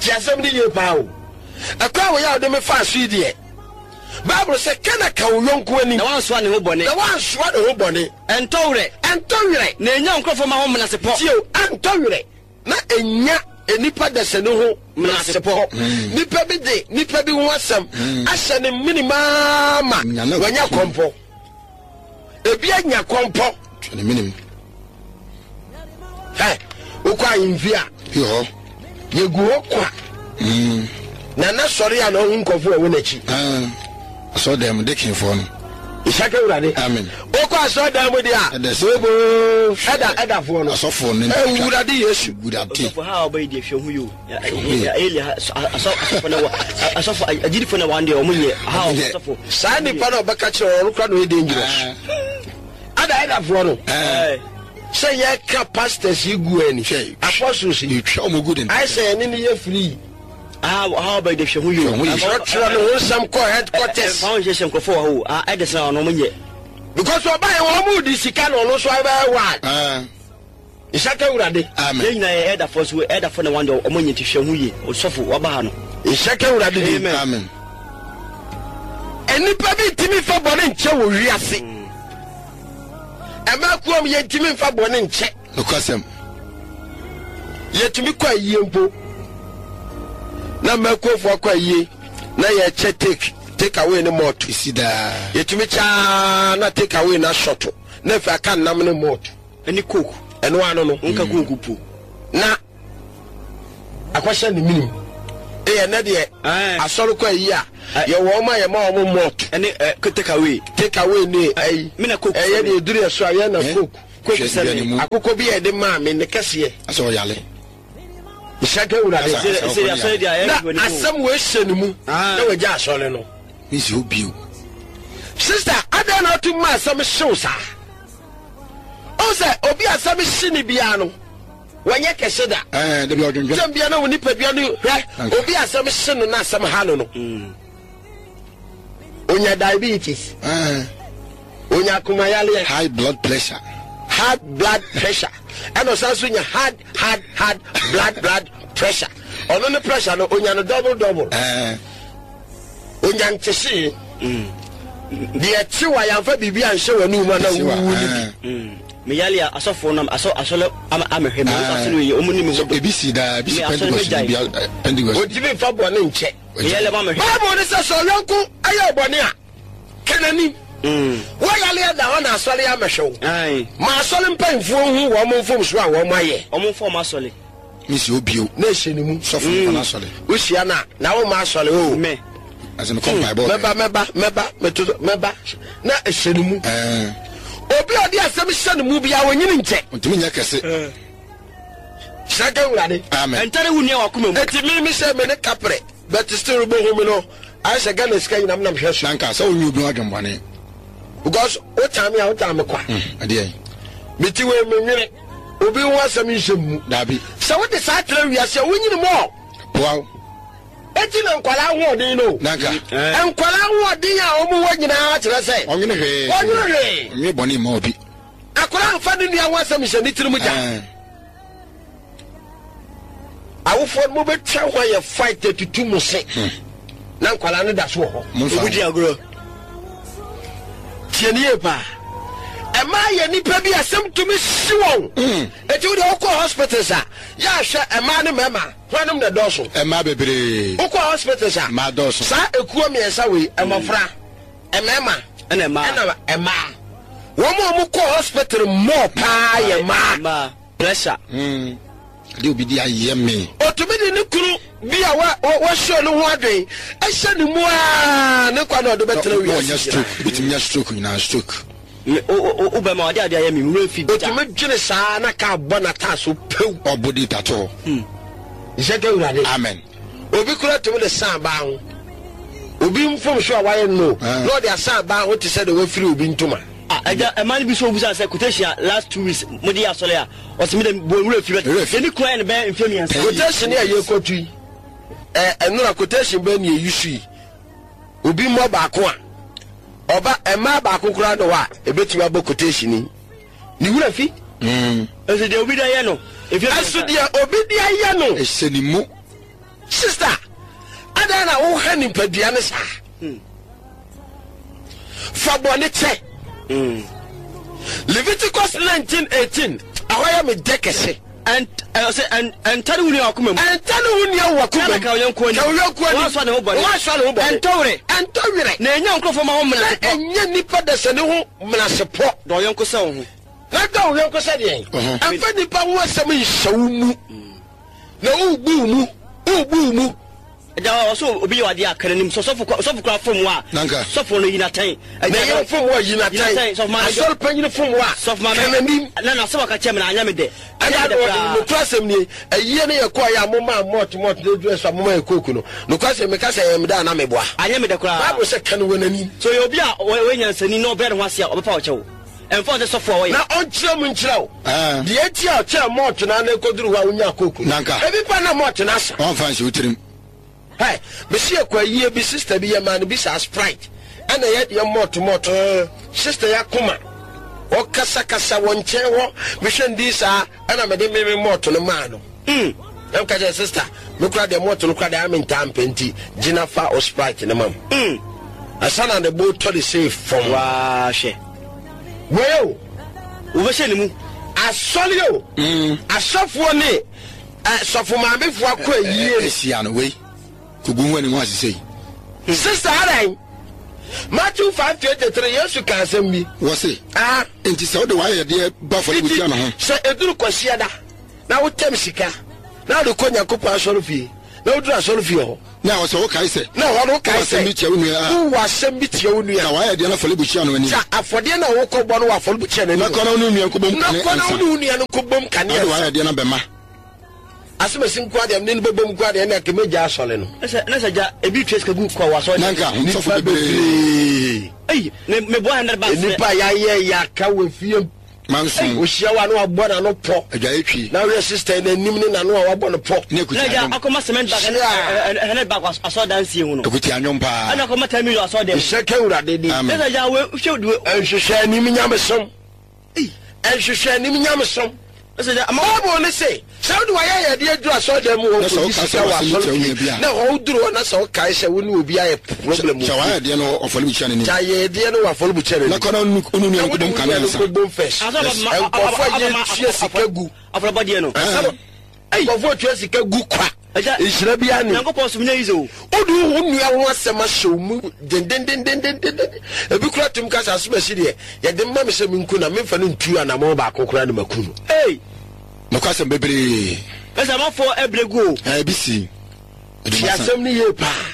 S1: Tie asɛm ne yie paa o. Ɛkwan a wɔyɛ ade me fa so yi deɛ, Bible sɛ ka na ka wo yɔnko anim.
S3: Na wansoa ne ho bɔne.
S1: Na wansoa ne ho bɔne.
S3: Ɛntɔ werɛ.
S1: Ɛntɔ werɛ.
S3: Na enya nkurɔfoɔ ma ho menasepɔ.
S1: Tie o, ɛntɔ werɛ. Na enya nipa dɛsɛ ne ho menasepɔ. Nipa bi de nipa bi ho asɛm ahyɛ ne minimaa ma
S2: Nya na
S1: wanya kɔmpɔ. Ebi anya kɔmpɔ.
S2: Twa ne minim.
S1: Hɛ, wokɔ ahemfie a,
S2: Bi hɔ.
S1: yɛgu hɔ kwa. Nana sɔre a na ɔho nkɔfo a ɛwɔ n'akyi.
S2: Ɛn. Asɔredan mu, dekinfoɔ no.
S1: Nhyira ka Awurade.
S2: Amen.
S1: Wokɔ asɔredan mu deɛ a,
S2: Ɛda si.
S1: booboo, ɛda, ɛdafoɔ no.
S2: Asɔfoɔ no
S1: Awurade Yesu.
S2: Awurade.
S3: Ɔsɔfo ha a ɔbɛyi deɛ hwɛ ho yi o. Eli ha asɔ asɔfo na wɔ asɔfo agyidifo na wɔn deɛ wɔn nyɛ ha ɔsɔfo.
S1: Saa nipa na ɔbɛka kyerɛ ɔno kora na ɔyɛ dangerous. Ada ɛdafoɔ no.
S2: Ɛn.
S1: Sɛ yɛka pastors yi gu ani.
S2: Hwɛ.
S1: Apostles yi.
S2: Yɛtwa wɔn gu den.
S1: Ayɛ sɛ yɛne ne yɛ free.
S3: Ha ha ɔbɛyi deɛ hwɛ ho yi o.
S2: Hwɛ ho yi.
S1: Kyerɛkyerɛ ne ho nsɛm kɔ headquarters.
S3: Fa wɔn hyehyɛ nkurɔfoɔ wɔ hɔ o. Ah ɛde sɛ ɔno wɔn nyɛ.
S1: Because ɔba yɛ wɔn mu di sika na ɔno nso abɛyɛ wild.
S2: Ɛn.
S1: Nhyira ka Awurade.
S2: Amen.
S3: Yɛn nyinaa yɛ ɛdafoɔ so ɛdafoɔ na wɔn deɛ wɔn nyɛ nti hwɛ ho yie. Ɔsɔfo waba ha no.
S1: Nhyira ka Awurade di.
S3: Amen.
S2: Amen.
S1: Nnipa bi ntumi nfa bɔne nkyɛ wɔ wiase. Ɛmɛ kuom yɛntumi nfa bɔne nkyɛ.
S2: Nokwasɛm.
S1: Yɛtumi kɔ ayie mpo. Na mmakuofoɔ akɔ ayie na yɛkyɛ take take away ne malt.
S2: Esi daa.
S1: Yɛtumi kyaa na take away na shɔto na afei aka nnam ne malt.
S3: Ɛne coke.
S1: Ɛno ano no.
S3: Nka coke po.
S1: Na akɔhyɛ ne minim. Ɛyɛ nɛ deɛ
S3: Ɛɛ.
S1: asɔre kɔ ayie a Yɛwɔ ɔma yɛma ɔmo malt.
S3: Ɛne take away.
S1: Take away ne ɛyi.
S3: Mena coke.
S1: Ɛyɛ de eduru yɛ so a yɛn na coke.
S3: Coke sɛ
S1: akokɔ bi yɛ de maa mi ne kɛseɛ.
S2: Asɛ ɔyale.
S1: Nhyɛnka wurade. Na asɛm wo ehyɛ ne mu. Na wagya asɔre no.
S2: Misi hɔ bio.
S1: Sister, adan na ɔtum ma asɛm hyew saa. Ɔsɛ obi asɛm hye ne biara no. Wɔnyɛ kɛse da.
S2: Ɛɛ dabi ɔdwendwen.
S1: Tɛm bia na wo nipadua no hwɛ obi asɛm hye no na asɛm ha no no. Onya diabetes.
S2: Ɛɛ.
S1: Onya akomayaleɛ.
S2: High blood pressure.
S1: High blood pressure. Ɛna ɔsan so nya hard hard hard blood blood pressure. Ɔno ne pressure no onya no double double.
S2: Ɛɛ.
S1: Onya ntese. Deɛ kyewa yɛmfa biribi anhyɛ w'anum na wuwu ne bi.
S3: Me yali asɔfo nam asɔ asɔle ama amehwe me asɔle yi omu ni me ho
S2: ebi si da ebi si Pentecost bi Pentecost
S1: otimi fa bɔne nkyɛ
S3: me yali ama mehwe
S1: Bible ne sɛ sɛ ɔyɔnko ayɛ bɔne a kenani wo yali da hɔ na asɔle amehwe wo ma asɔle mpanyimfoɔ hu wɔn mfom so a wɔn ayɛ
S3: wɔn mfom asɔle
S2: me si obio
S1: na ɛhyɛ ne mu
S2: sɔfo mfa na asɔle
S1: wohyia na na wo ma asɔle o
S3: me
S2: asɛm kɔ mpaebɔ
S1: mɛba mɛba mɛba meto mɛba na ɛhyɛ ne mu
S2: eh
S1: obi odi asɛm hyɛ ne mu bia wonyini nkyɛ
S2: ntumi nyɛ kɛse
S1: hyɛ wurade
S2: amen
S3: entare wo nua wakoma mu
S1: eti mi mi sɛ me ne kapre but still bo hu mi no ayɛ sɛ Ghana sika nyinam nam hwɛ so
S2: nanka sɛ wonye obi adwembɔne
S1: because wo tan me a wo tan me kwa
S2: ɛdeɛ
S1: me ti we me nwene obi ho asɛm nhyɛ mu
S2: dabi
S1: sɛ wode saa trɛ wiase a wonyini mɔ
S2: wow
S1: eti na nkwalaa ahoɔden no
S2: nanka
S1: nkwalaa ahoɔden a ɔmo wɔ nyinaa kyerɛ sɛ
S2: ɔnwene hwee
S1: ɔnwene hwee
S2: ɔnwene bɔne ma obi
S1: akwaraa nfa ne nua ho asɛm nhyɛ ne tirim gya awofoɔ no mobɛtwa ho ayɛ fight atutu mo se na nkwalaa no da so wɔ hɔ
S3: obi di agorɔ
S1: tie ne yie paa ɛmaa yɛ nnipa bi asɛm tumi si wɔn eti wo deɛ wokɔ hospitals a yɛahwɛ ɛmaa ne mmarima hwanom na dɔɔso
S2: ɛmaa bebree
S1: wokɔ hospitals a
S2: mmaa dɔɔso
S1: saa ekuo mmiɛnsa wei ɛmɔfra ɛmɛɛma
S3: ɛna mmaa
S1: ɛna ɛmaa wɔn a wɔn kɔ hospital mɔɔ paa yɛ mmaa
S3: mmaa pressure
S2: de obi di ayɛ me
S1: otumi de ne kunu bi a wa wɔhyɛ ne ho adwen ɛhyɛ ne mu aa ne kwa na ɔde bɛtena
S2: wi
S1: ase
S2: stroke bitumi nya stroke nyinaa stroke
S3: o o bɛma ɔde ade ayɛ me wura fi da
S1: otumi dwene saa na ka bɔ n'ataa so pew
S2: ɔbɔ di tatɔ
S1: nhyɛ ka wurade
S2: amen
S1: obi kura tumi de san baa ho obi mfom so a wayɛ no na ɔde asan baa ho te sɛ de wafiri obi ntoma
S3: ɛgya ɛma no bi so obusa sɛ quotation last two weeks mo de yɛ asɔre a ɔsɛ mi de bɔ nwura fi bɛ ɛni kura yɛ no bɛyɛ mfe mmiɛnsa
S1: quotation yɛ yɛ kɔtu yi ɛ ɛnura quotation bɛ ni eyi so yi obi mmɔ baako a ɔba ɛmaa baako kura no hɔ a ebetumi abɔ quotation yi ne wura fi.
S3: Ɛsɛ deɛ obi de ayɛ no.
S1: Ɛso deɛ obi de ayɛ no.
S2: Ɛhyɛ ne mu.
S1: Sister, adan na wohwɛ nipadua ne saa. Fa bɔne kyɛ. Leviticus nineteen eighteen. Ɛhɔ yɛ me dɛ kɛse.
S3: Ɛntane wo nua wakoma mu.
S1: Ɛntane wo nua wakoma mu.
S3: Ka wo yɔnko ani.
S1: Ka wo yɔnko ani.
S3: Woasɔ ne ho bɔne.
S1: Woasɔ ne ho bɔne.
S3: Ɛntɔ werɛ.
S1: Ɛntɔ werɛ.
S3: Na ɛnyɛ nkurɔfoɔ ma ho menasepɔ.
S1: Na ɛnyɛ nipa dɛsɛ ne ho menasepɔ.
S3: Dɔ wo yɔnko sɛ wo ho.
S1: Na dɔ wo yɔnko sɛ deɛn. Ɛmfa nipa ho asɛm nhyɛ wo mu. Na wobu wo mu. Wobu wo mu.
S3: Da ɔsɔ obi yɛ wade akara nim sɔfo sɔfo kura fom wa sɔfo no yina tan
S1: na yɛ fom wa yina tan asɔre panyin fom wa
S3: sɔfo ma
S1: kananim
S3: na na sɛ waka kyɛ me na anya me dɛ
S1: anya me dɛ kura asɛm nie ɛyie ne yɛ kɔ yɛ amoma mɔt mɔt ne dure so amoma yɛ koku no no kura sɛ meka sɛ yɛ me da na meboa
S3: anya me dɛ kura
S1: Bible sɛ kan wɔ n'anim
S3: so yɛ obi a wɔ nyansani na ɔbrɛ ne ho ase a ɔbɛfa ɔkyɛw ɛmfa ɔsɛ sɔfo a wɔyɛ
S1: na ɔnkyerɛ mu nkyerɛ wo deɛ ti a ɔkyerɛ mɔt na na ɛkɔduru hɔ a wonya koku ebi pa na mɔt na asa
S2: ɔmfa nhyɛ wo tirim.
S1: Hey, Monsieur kwa yie bi sister bi yɛ man bi sa Sprite. Ɛna yɛ yɛ mɔt mɔt. Sister ya kuma. Ɔkasa kasa wɔn nkyɛn hɔ. Mehwɛ ndi saa ɛna mede me me mɔt no maa no. Mm. Ɛm ka kyerɛ sister, me kura deɛ mɔt no kura deɛ ame ntaa mpɛ nti gyina fa o Sprite ne mam.
S3: Mm.
S1: Asa na ne bo tɔ de se fam.
S3: Waa hwɛ.
S1: Wei o.
S3: Wobɛhyɛ ne mu.
S1: Asɔre o.
S2: Mm.
S1: Asɔfoɔ ne sɔfo maamefoɔ akɔ ayie.
S2: Esia no wei. Kugu ni mo asese.
S1: Sister Arai, Matthew five twenty-three Yesu ka asɛm bi.
S2: Wɔse.
S1: Ah.
S2: Enti sɛ wode wayɛ deɛ ba fɔle butia no ho.
S1: Sɛ eduru kwasiada na wotem sika na wode kɔ Nyankopɔn asɔre fie Na woduru asɔre fie hɔ.
S2: Na ɔsɛ wokae sɛ.
S1: Na hɔ no wokae sɛ.
S2: Wowɔ asɛm bi tia wo nua a.
S1: Wowɔ asɛm bi tia wo nua.
S2: Na wayɛ deɛ no afɔrebukyia no anim.
S1: Gya afɔdeɛ no a wokɔbɔ no wɔ afɔrebukyia no anim.
S2: Na kɔ na wo ne wo nua nkɔbom kane ansa.
S1: Na kɔ na wo ne wo nua no nkɔbom kane ansa.
S2: Na wode wayɛ deɛ no abɛma.
S1: Asɛm asi nko adeɛ ne no bɛbom nko adeɛ na kɛmɛgya asɔre no.
S3: Na sɛ gya ebi twa sika gu kɔ wɔ asɔre.
S2: Na nka sɔfo bebree.
S3: Ei, me me boa hundred bucks.
S1: Nipa yɛayɛ yɛaka wɔ fie.
S2: Manso.
S1: Ohyia wa no abɔ n'ano pɔ.
S2: Adwaye twi.
S1: Na wohwɛ sister n'anim ne n'ano a wabɔ no pɔ.
S2: Ne akuti
S3: Na
S2: anwom.
S3: akɔma cement bag
S1: Hyia.
S3: hundred bag asɔre dansie ho no.
S2: Akuti anwom paa.
S3: Ɛna akɔma ten million asɔre dɛm.
S1: Nhyɛ ka Awurade din.
S2: Amen.
S3: Na sɛ gya we hwɛ du.
S1: Nhwehwɛ anim nyamesom. Nhwehwɛ anim nyamesom.
S3: Na sɛ gya ama
S1: Bible ne se, sɛ wode wayɛ yɛde aduru asɔre dɛm mu hɔ
S2: Na sɛ
S1: kɔyi
S2: woka
S1: sika
S2: sɛ
S1: wɔ
S2: w'asɛm
S1: asɔre
S2: tia wo nua
S1: fie
S2: bi a.
S1: na hɔ woduru hɔ na sɛ wokae sɛ wo ne obi ayɛ problem
S2: Kyɛ
S1: wɔ
S2: wayɛ deɛ no afɔrebukyia no anim.
S1: gya yɛdeɛ no wɔ afɔrebukyia no
S2: Na
S1: anim.
S2: kɔ na wo ne wo nua
S1: Na
S2: no
S1: wode
S2: nkɔbom
S1: wo
S2: kane
S1: nua no
S2: ansa.
S1: nkɔbom first. Nkurɔfoɔ a yɛtua sika gu.
S3: afɔrebɔdeɛ no.
S1: Nkurɔfoɔ tua sika gu kwa.
S3: Agya,
S1: Nhyira biara ni.
S3: Nyankopɔn som nyɛ easy o.
S1: Wode wo nua ho asɛm ahyɛ wo mu dendendendendenden. Ebi kura tum kasa asɛm asi deɛ yɛde mma me sɛ menku na memfa no ntu anammɔn baako koraa ne maku no.
S3: Ei,
S2: Nokwasɛm bebree.
S3: na sɛ amanfoɔ ɛbrɛ gu o.
S2: Ɛɛ bi si.
S1: Tie asɛm no yie paa.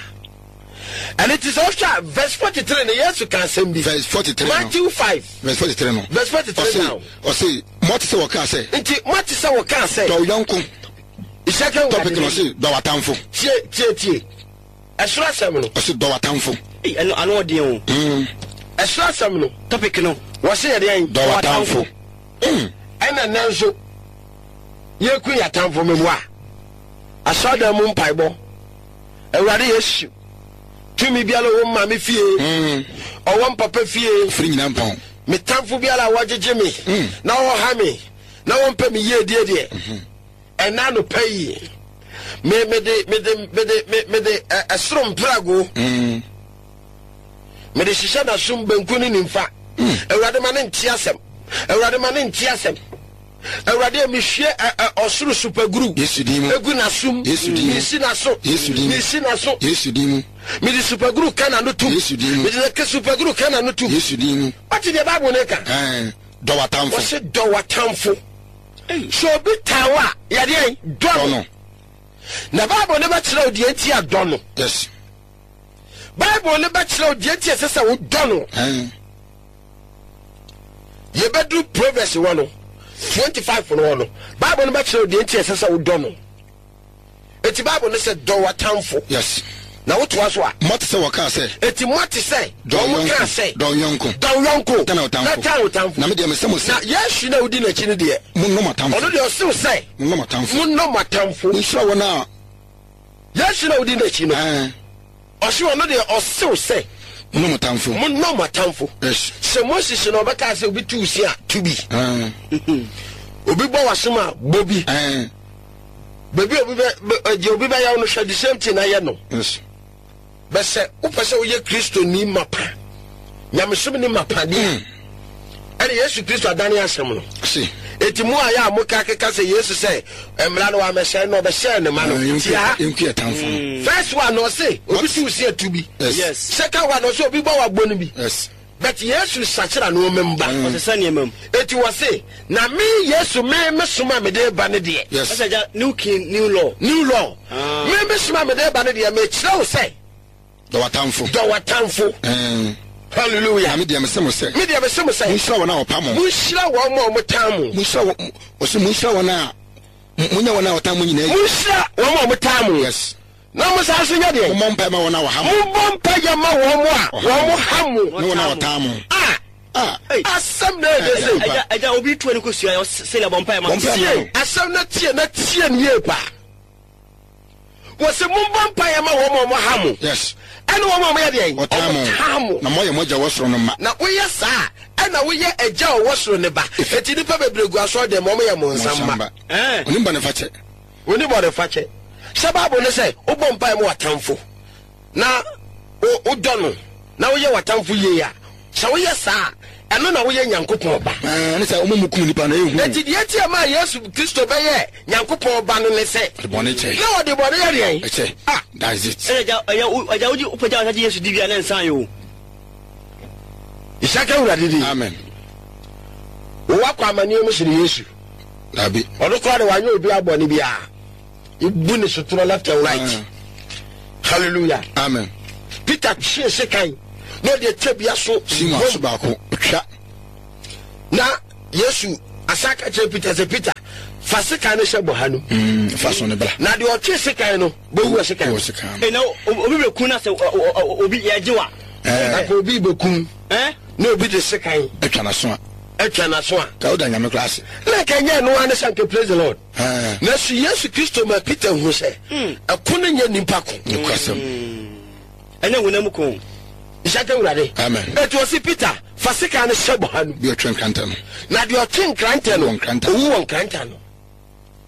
S1: Ɛno nti sɛ wohwɛ a verse forty-three no Yesu ka asɛm bi.
S2: Verse forty-three no.
S1: Matthew five.
S2: Verse forty-three no.
S1: Verse forty-three
S2: Ɔse
S1: now.
S2: ɔse moate sɛ wɔkaa sɛ.
S1: Nti moate sɛ wɔkaa sɛ.
S2: Dɔ wo yɔnko.
S1: Nhyɛ ka Awurade
S2: Topic no
S1: din.
S2: ɔse dɔ w'atamfo.
S1: Tie tie tie. Ɛsoro asɛm no.
S2: Ɔse dɔ w'atamfo.
S3: Ei, ɛno ano ɔden o.
S2: Mm.
S1: Ɛsoro asɛm no.
S3: Topic no.
S1: Wɔse yɛde yɛn.
S2: Dɔ w'atamfo. Mm.
S1: Ɛna nnɛ nso yɛku yɛ atamfo meboa. Asɔredan mu mpaebɔ. Awurade Yesu. Tumi biara ɔwɔ maame fie.
S2: Mm.
S1: Ɔwɔ mpapa fie.
S2: Firi nyinaa mpɔn.
S1: Me tamfo biara a wɔgyegye me.
S2: Mm.
S1: Na wɔha me. Na wɔmpɛ me yie die deɛ. Ɛna anɔpa yi. Me me de me de me de me me de ɛ ɛsoro mprago.
S2: Mm.
S1: Me de hyehyɛ n'asom benku ne nimfa. Awurade ma ne nte asɛm. Awurade ma ne nte asɛm. Awurade mehwie ɛ ɛ ɔsoro supaguru.
S2: Yesu din mu.
S1: Egu n'asom.
S2: Yesu din mu.
S1: Mesi n'aso.
S2: Yesu din mu.
S1: Mesi n'aso.
S2: Yesu din mu.
S1: Mede supaguru ka n'ano tum.
S2: Yesu din mu.
S1: Mede ne supaguru ka n'ano tum.
S2: Yesu din mu.
S1: Ɔte deɛ Bible ne ka.
S2: Ɛɛ dɔ w'atamfo.
S1: Wɔsi dɔ w'atamfo. Sɛ obi taa wo a yɛde yɛn dɔ
S2: Dɔ
S1: no.
S2: no.
S1: Na Bible ne bɛkyerɛ wo deɛ nti a dɔ no.
S2: Yes.
S1: Bible ne bɛkyerɛ wo deɛ nti a ɛsɛ sɛ wo dɔ no.
S2: Ɛɛ
S1: Yɛbɛduru Proverbs wɔ no twenty-five no wɔ no. Bible ne bɛkyerɛ wo deɛ nti a ɛsɛ sɛ wo dɔ no. Eti Bible ne sɛ dɔ w'atamfo.
S2: Yes.
S1: Na wotoa so a.
S2: Moate sɛ wɔkaa sɛ.
S1: Eti moate sɛ.
S2: Dɔ wo
S1: wɔn kaa
S2: yɔnko.
S1: sɛ.
S2: Dɔ wo yɔnko.
S1: Dɔ wo yɔnko.
S2: Tan wo tamfo.
S1: Na tan wo tamfo.
S2: Na me deɛ mesɛ mo sɛ.
S1: Na Yesu na wodi n'akyi no deɛ.
S2: Monnɔ mo atamfo.
S1: Ɔno deɛ ɔsew sɛ.
S2: Monnɔ mo atamfo.
S1: Monnɔ mo atamfo.
S2: Monhyira wɔn a.
S1: Yesu na wodi n'akyi no.
S2: Ɛɛ.
S1: Ɔse ɔno deɛ ɔsew sɛ.
S2: Monnɔ mo atamfo.
S1: Monnɔ mo atamfo.
S2: Yes.
S1: Sɛ Moses na ɔbɛka sɛ obi tu si a tu bi.
S2: Ɛɛ.
S1: Obi bɔ w'asom a bɔ bi.
S2: Ɛɛ.
S1: Baabi a obi bɛ deɛ obi bɛyɛ no hwɛ the same thing na yɛ no.
S2: Yes.
S1: Bɛsɛ wopɛ sɛ woyɛ Kristoni mapa. Nyamesom ni mapa deɛ. Ɛne Yesu Kristo adane asɛm no.
S2: Si.
S1: Eti mu a yɛ a moka keka sɛ Yesu sɛ mmara no wamɛhyɛ no ɔbɛhyɛ ne ma no. Tie ha.
S2: Yɛnku yɛ tamfo no.
S1: First one ɔse obi tu si atu bi.
S2: Yes.
S3: Yes.
S1: Second one ɔse obi bɔ wabɔ no bi.
S2: Yes.
S1: But Yesu sakyera no ɔmɛmba.
S3: Ɔsesa nneɛma mu.
S1: Eti wɔse na me Yesu me me soma me de ba ne deɛ.
S2: Yes.
S3: Ɛsɛ gya new king new law.
S1: New law.
S3: Ah.
S1: Me me soma me de ba ne deɛ me kyerɛ wo sɛ
S2: Dɔ w'atamfo.
S1: dɔ w'atamfo.
S2: Ɛɛ.
S1: Hallelujah.
S2: Na me deɛ mesɛ mo sɛ.
S1: Me deɛ mese mo sɛ.
S2: Monhyira wɔn a wɔpa mo.
S1: Monhyira wɔn a wɔtan mo.
S2: Monhyira wɔn. Ɔsɛ monhyira wɔn a. Monyɛ wɔn a wɔtan mo nyinaa.
S1: Monhyira wɔn a wɔtan mo.
S2: Yes.
S1: Na mo san so nyɛ deɛ.
S2: Mommɔ mpae ma wɔn a wɔha mo.
S1: Mommɔ mpaeɛ ma wɔn a wɔn ha mo.
S2: Ne wɔn a wɔtan mo.
S1: Ah.
S2: Ah.
S1: Asɛm na ɛde sɛ.
S3: Ɛgya ɛgya obi tu ani kɔ sua sɛ bɔ mpae ma.
S2: Bɔ mpae ma
S1: Tie
S2: no.
S1: asɛm na tie na tie ne yie paa. Wɔsɛ mommɔ mpaeɛ ma wɔn a wɔha mo.
S2: Yes.
S1: Ɛne wɔn a wɔyɛ deɛ.
S2: Wɔtan mo.
S1: Wɔtan mo.
S2: Na moayɛ mo agya wɔ soro no mma.
S1: Na woyɛ saa ɛna woyɛ agya a ɔwɔ soro ne ba. Eti nipa bebree gu asɔre dɛm wɔn yɛ mo nsam mma.
S3: Ɛɛ.
S2: Onim bɔne fakyɛ.
S1: Oni bɔne fakyɛ. Sɛ Bible ne sɛ wobɔ mpaeɛ ma w'atamfo na wo wodɔ no na woyɛ w'atamfo yie a sɛ woyɛ saa ɛno na woyɛ Nyankopɔn ba.
S2: Ɛɛ ne sɛ wɔn mu kum nipa na ehu.
S1: Eti deɛ ti a maa Yesu Kristo bɛyɛ Nyankopɔn ba no ne sɛ
S2: Ɔde bɔne kyɛ.
S1: na ɔde bɔne yɛ deɛn?
S2: Ɛkyɛ.
S1: Ah.
S2: That is it.
S3: Ɛsɛ gya ɛyɛ ɛgya wogye wopagya wɔn agye Yesu di bia ne nsan yɛ o.
S1: Isaka Awurade din.
S2: Amen.
S1: Wowɔ akɔ amanneɛ mu sene Yesu.
S2: Dabi.
S1: Ɔno koraa de wanyɛ obi abɔne biara. Ebu ne sotorɔ left and right.
S2: Ah.
S1: Hallelujah.
S2: Amen.
S1: Peter hyee sekan na ɔde atwa bi aso.
S2: Simon aso baako twa.
S1: Na Yesu asa ka kyerɛ Peter sɛ, Peter, fa sekan no hyɛ bɔha no.
S2: Mm, fa so no bra.
S1: Na deɛ ɔtwe sekan no bɛwu wɔ sekan
S2: no. Sekan no.
S3: Ɛna obi bɛku na sɛ obi yɛgye wa.
S1: Na ka obi bɛkum na obi de sekan
S2: atwa n'aso a.
S1: Atwa n'aso a.
S2: Ka woda Nyame koraa ase.
S1: Na ka nyɛ ɛno ara ne sɛ nka praise the Lord. Nanso Yesu Kristo ma Peter hu sɛ ɛko no nyɛ nipa ko.
S2: Nokwasɛm.
S3: Ɛnyɛ honam ko.
S1: Nhyɛ nka Awurade.
S2: Amen.
S1: Eti ɔsi Peter, fa sekan no hyɛ bɔha no.
S2: Deɛ ɔtwe nkrantɛ no.
S1: Na deɛ ɔtwe nkrantɛ no, owu wɔ nkrantɛ ano.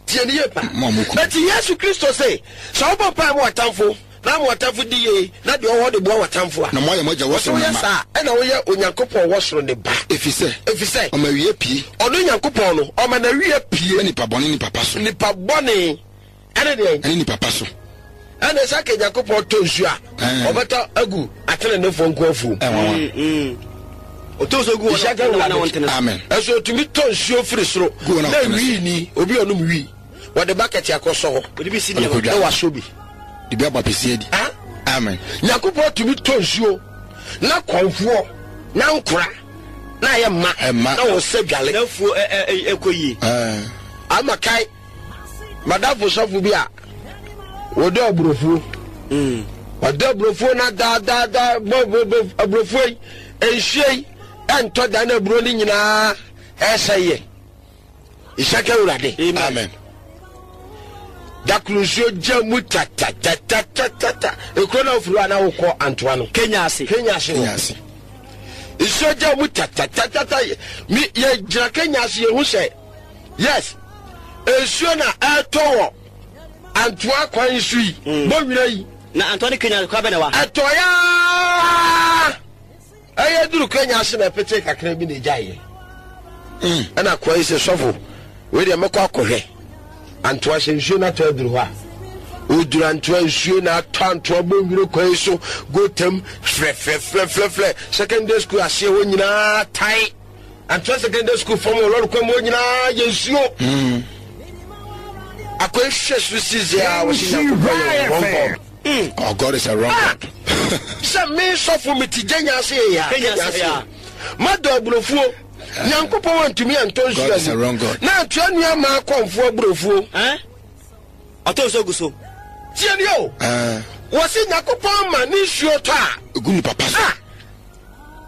S1: Tie ne yie pa. Eti Yesu Kristo se, sɛ wobɔ mpae ma w'atamfo, na ama w'atamfo di yie, na deɛ ɔwɔ de boa w'atamfo a,
S2: na moayɛ mo agya wɔ soro
S1: no mma. Saa ɛna woyɛ Onyankopɔn wɔ soro ne ba.
S2: Efisɛ.
S1: Efisɛ.
S2: Ɔma awia pie.
S1: Ɔno Nyankopɔn no, ɔma n'awia pie.
S2: Ma nipa bɔne ne nipa pa so.
S1: Nipa bɔne ɛne deɛn?
S2: Ɛne nipa pa so.
S1: Ɛna sɛ ka Nyankopɔn tɔ nsuo a, ɔbɛtɔ agu atenenefoɔ nko afuom.
S3: Ɔtɔ nsuo gu wɔn a wɔntene so.
S2: Amen.
S1: Ɛso otumi tɔ nsuo firi soro na wii ni obi ɔnom wii wɔde bakɛte akɔsɔ hɔ
S3: Ɔde bi si nneɛma.
S1: na wasɔ bi.
S2: De bi abɔ apɛsi adi. Amen.
S1: Nyankopɔn tumi tɔ nsuo na kɔnfoɔ na nkora na ayɛ mma
S2: Ɛma.
S1: na wɔsɛ dwale.
S3: Na afuo ɛkɔ yie.
S1: Ama kae madamfo sɔfo bi a wɔdɔ aburofuo. Wɔdɔ aburofuo na daadaadaa bɔ bɔ bɔ aburofuo yi nsuo yi ɛntɔ da na aburo no nyinaa ɛsɛ yɛ. Nhyɛ ka Awurade.
S2: Amen.
S1: Dakoro nsuo gya mu tatatatatata. Ekuro na ofiri hɔ a na wokɔ Antoa no.
S3: Kenya ase.
S1: Kenya ase
S2: Kenya
S1: hɔ.
S2: ase.
S1: Nsuo gya mu tatatatata. Mi yɛ gyina Kenya ase yɛhu sɛ yes nsuo na ɛtɔ wɔ Antoa kwan so yi. Bɔnwira yi.
S3: Na Antoa ne Kenya kwan bɛ na wa.
S1: Ɛtɔ yaa ɛyɛ duru Kenya ase na ɛpete kakra bi na egya yɛ. Ɛna akoa yi sɛ sɔfo wei deɛ mɛkɔ akɔhwɛ Antoa sɛ nsuo no atɔ aduru hɔ a. Oduru Antoa nsuo na atɔ Antoa bɔnwire kwan so gotam frɛfrɛfrɛfrɛfrɛ secondary school aseɛ hɔ nyinaa tae. Antoa secondary school fam wɔ lɔre kwan mu hɔ nyinaa yɛ nsuo. Akoa yi hwɛ so sisi a wɔsi Nyankopɔn yɛ wɔn God.
S2: Oh, God is a wrong
S1: Ah!
S2: God.
S1: Sɛ me sɔfo me ti gye nyaase yɛ ya.
S3: Kenya ase ya.
S1: Madɔ aburofuo. Nyankopɔn antumi antɔ nsuo
S2: God is a
S1: agu.
S2: wrong God.
S1: Na Antoa nua maa kɔnfoɔ aburofuo.
S3: Ɛn? Ɔtɔ nsuo gu so.
S1: Tie ni o.
S2: Ah,
S1: Wɔsi Nyankopɔn ma ne nsuo tɔ a.
S2: egu nipa pa so.
S1: Ah!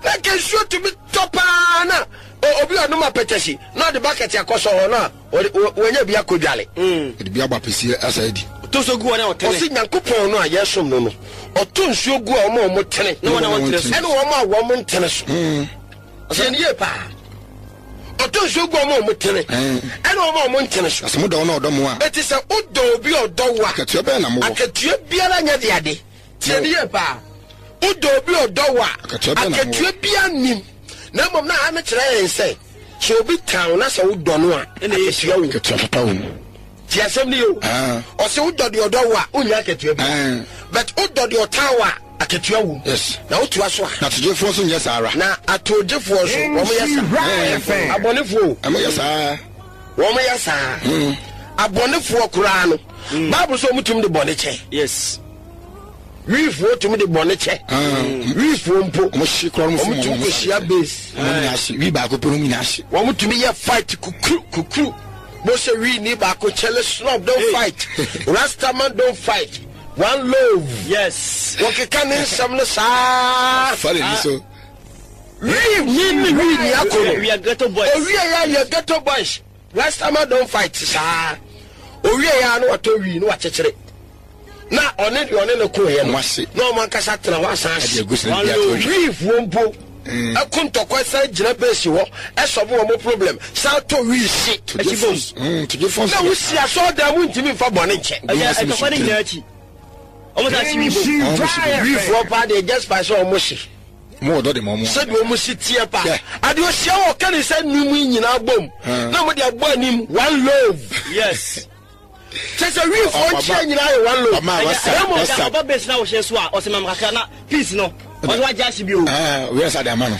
S1: Na nka nsuo tumi tɔ paa na o- obi a ɔnom apɛtɛsi na ɔde bakɛte akɔsɔ hɔ na ɔde- wɔ- wɔnya bi akɔdwale.
S2: Ɔde bi abɔ apɛsi asa adi.
S3: Ɔtɔ nsuo gu wɔn a wɔtene.
S1: Ɔsi Nyankopɔn no a yɛsom no no ɔtɔ nsuo gu a wɔn a wɔn tene.
S3: Na wɔn a wɔntene so.
S1: Ɛne wɔn a wɔn ntene so. Tie ni yie paa. Ɔtɔ nsuo gu wɔn a wɔn tene. Ɛne wɔn a wɔn ntene so.
S2: Na sɛ modɔ wɔn a ɔdɔ mo a,
S1: Eti sɛ wodɔ obi a ɔdɔ wo a,
S2: akatua bɛyɛ na mowɔ.
S1: akatua biara nyɛ de ade. Tie ni yie paa. Wodɔ obi a ɔdɔ wo a,
S2: Akatua bɛn na mowɔ?
S1: akatua biara nim. Na mmom na ha no kyerɛ yɛn sɛ, sɛ obi tan wo na sɛ wodɔ no a,
S3: Ɛna ɛyɛ
S1: akatua wɔ mu.
S2: Akatua papa wɔ mu.
S1: Tie asɛm no yie o.
S2: Ah.
S1: Ɔsɛ wodɔ deɛ ɔdɔ wo a, wonnya akatua bi.
S2: Ah.
S1: But wodɔ deɛ ɔtan wo a, akatua wɔ mu.
S2: Yes.
S1: Na wotoa so a,
S2: Na atogyefoɔ nso nyɛ saa ara.
S1: na atogyefoɔ nso wɔn yɛ saa. Abɔnefoɔ o.
S2: Ɛmo yɛ saa.
S1: Wɔn yɛ saa. Abɔnefoɔ koraa no, Bible sɛ wɔn tumi de bɔne kyɛ.
S3: Yes.
S1: Wiifoɔ tumi de bɔne kyɛ. Wiifoɔ mpo.
S2: Ɔmo hye koraa ɔmo fom
S1: Wɔn tumi
S2: ɔmo
S1: kɔhyia base.
S2: Ɔmo nyinaa hye. Wi baako pɛ ɔmo nyinaa hye.
S1: Wɔn tumi yɛ fight kukuru kukuru. Mo sɛ wii ni baako kyɛlɛ snob don't fight. Rastaman don't fight. One love.
S3: Yes.
S1: Wɔkeka ne nsɛm no saa.
S2: Fa ne ni so.
S1: Wii ni ni wii ni akɔ no.
S3: We are ghetto boys.
S1: Owie ya yɛ ghetto boys. Rastaman don't fight saa. Owie ya no watɔ wii no wakyekyere. Na ɔne deɛ ɔne ne ko yɛ no.
S2: Ɔmo ase.
S1: Na ɔmo ankasa tena hɔ asan
S2: Ɛde
S1: ase.
S2: agu sɛ bi ato nhwɛ.
S1: Wiifoɔ mpo ɛko ntɔkwa san gyina base hɔ ɛsɔbo wɔn problem san tɔ wii si.
S2: Togyefoɔ nso- Mm, togyefoɔ nso
S1: Na
S2: yɛ
S1: wosi
S2: saa.
S1: asɔɔdan mu ntumi nfa bɔne nkyɛ.
S3: Ɛyɛ ɛtɔkwa ne nyinaa akyi. Ɔmo sa akyi wi bom.
S2: Ɔmo hye bi.
S1: Wiifoɔ paa deɛ just by sɛ ɔmo hye.
S2: Mo wɔ dɔ de ma ɔmo.
S1: Sɛdeɛ ɔmo si teɛ paa.
S2: Yeah.
S1: Adeɛ ohyia wɔ ɔka ne nsa num yi nyinaa bom. Na ɔmo de abɔ anim one love.
S3: Yes.
S1: Kyɛ sɛ wiifoɔ nkyia nyinaa yɛ one love.
S2: Ɔma wasa
S1: Na mmom,
S2: wasa.
S3: Ɔba base na wɔhyɛ so a ɔsɛ mam kakra na peace no. Ɔsɛ wagye ahye bi o.
S2: Ah, wia sa de ama no.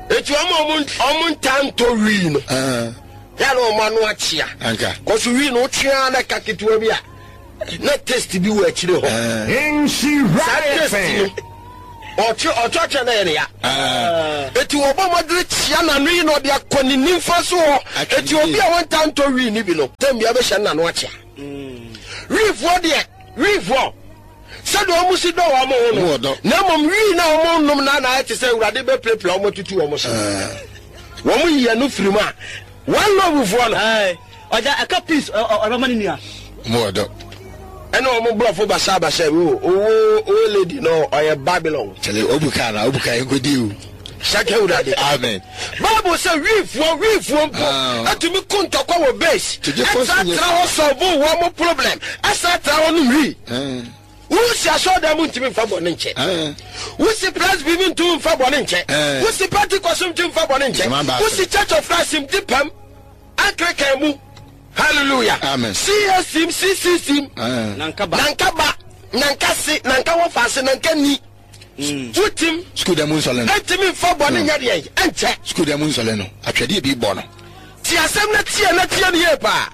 S1: Eti ɔmo a ɔmo ɔmo ntaa ntɔ wii no.
S2: Ah,
S1: Yɛ na ɔmo ano akyea.
S2: Anka.
S1: Kɔso wii no wotwea na ɛka ketewa bi a Na taste bi wɔ akyire hɔ. Saa taste no, ɔtwe ɔtwatwa na yɛ ne ya. Eti wɔbɔ mmɔdene kyia n'ano yi na ɔde akɔ ne nimfa so hɔ. Eti obi a wɔnta ntɔ wii ni bi no, tɛm bia bɛhyɛ n'ano akyea. Wiifoɔ deɛ, wiifoɔ sɛdeɛ wɔn si dɔ wɔn ho no, na mmom wii na wɔn nom na na ayɛ te sɛ Awurade bɛpirapira wɔn atutu wɔn so. Wɔn yi ɛno firi mu a, one love foɔ no.
S3: Ɔgya ɛka peace ɔbɛma ne nua.
S2: Mo ɔdɔ.
S1: Ɛna wɔn borɔfo basabasa bi o, owo owo lady no ɔyɛ Babylon.
S2: Kyɛlɛ obu kaa na obu kaa nkodi o.
S1: Saka Awurade.
S2: Amen.
S1: Bible sɛ wiifoɔ wiifoɔ mpo atumi ko ntɔkwa wɔ base. Ɛsa tra hɔ solve wɔn mo problem. Ɛsa tra hɔ nom wii. Wusi asɔɔdan mu ntumi nfa bɔ ne nkyɛ. Wusi Presby mu ntumi nfa bɔ ne nkyɛ. Wusi Pentecost mu ntumi nfa bɔ ne nkyɛ. Wusi Church of Christ mu di pam. Anglican mu. Hallelujah.
S2: Amen.
S1: C S C M, C C C M.
S3: Nankaba.
S1: Nankaba. Nankasi. Nanka wɔfaase. Nanka ni. Wutim.
S2: Sukuu dɛm nsɔle no.
S1: Ntumi nfa bɔ ne nyɛ deɛ ɛnkyɛ.
S2: Sukuu dɛm nsɔle no. Atwɛdeɛ bi bɔ no.
S1: Ti asɛm na tie na tie ne yie paa.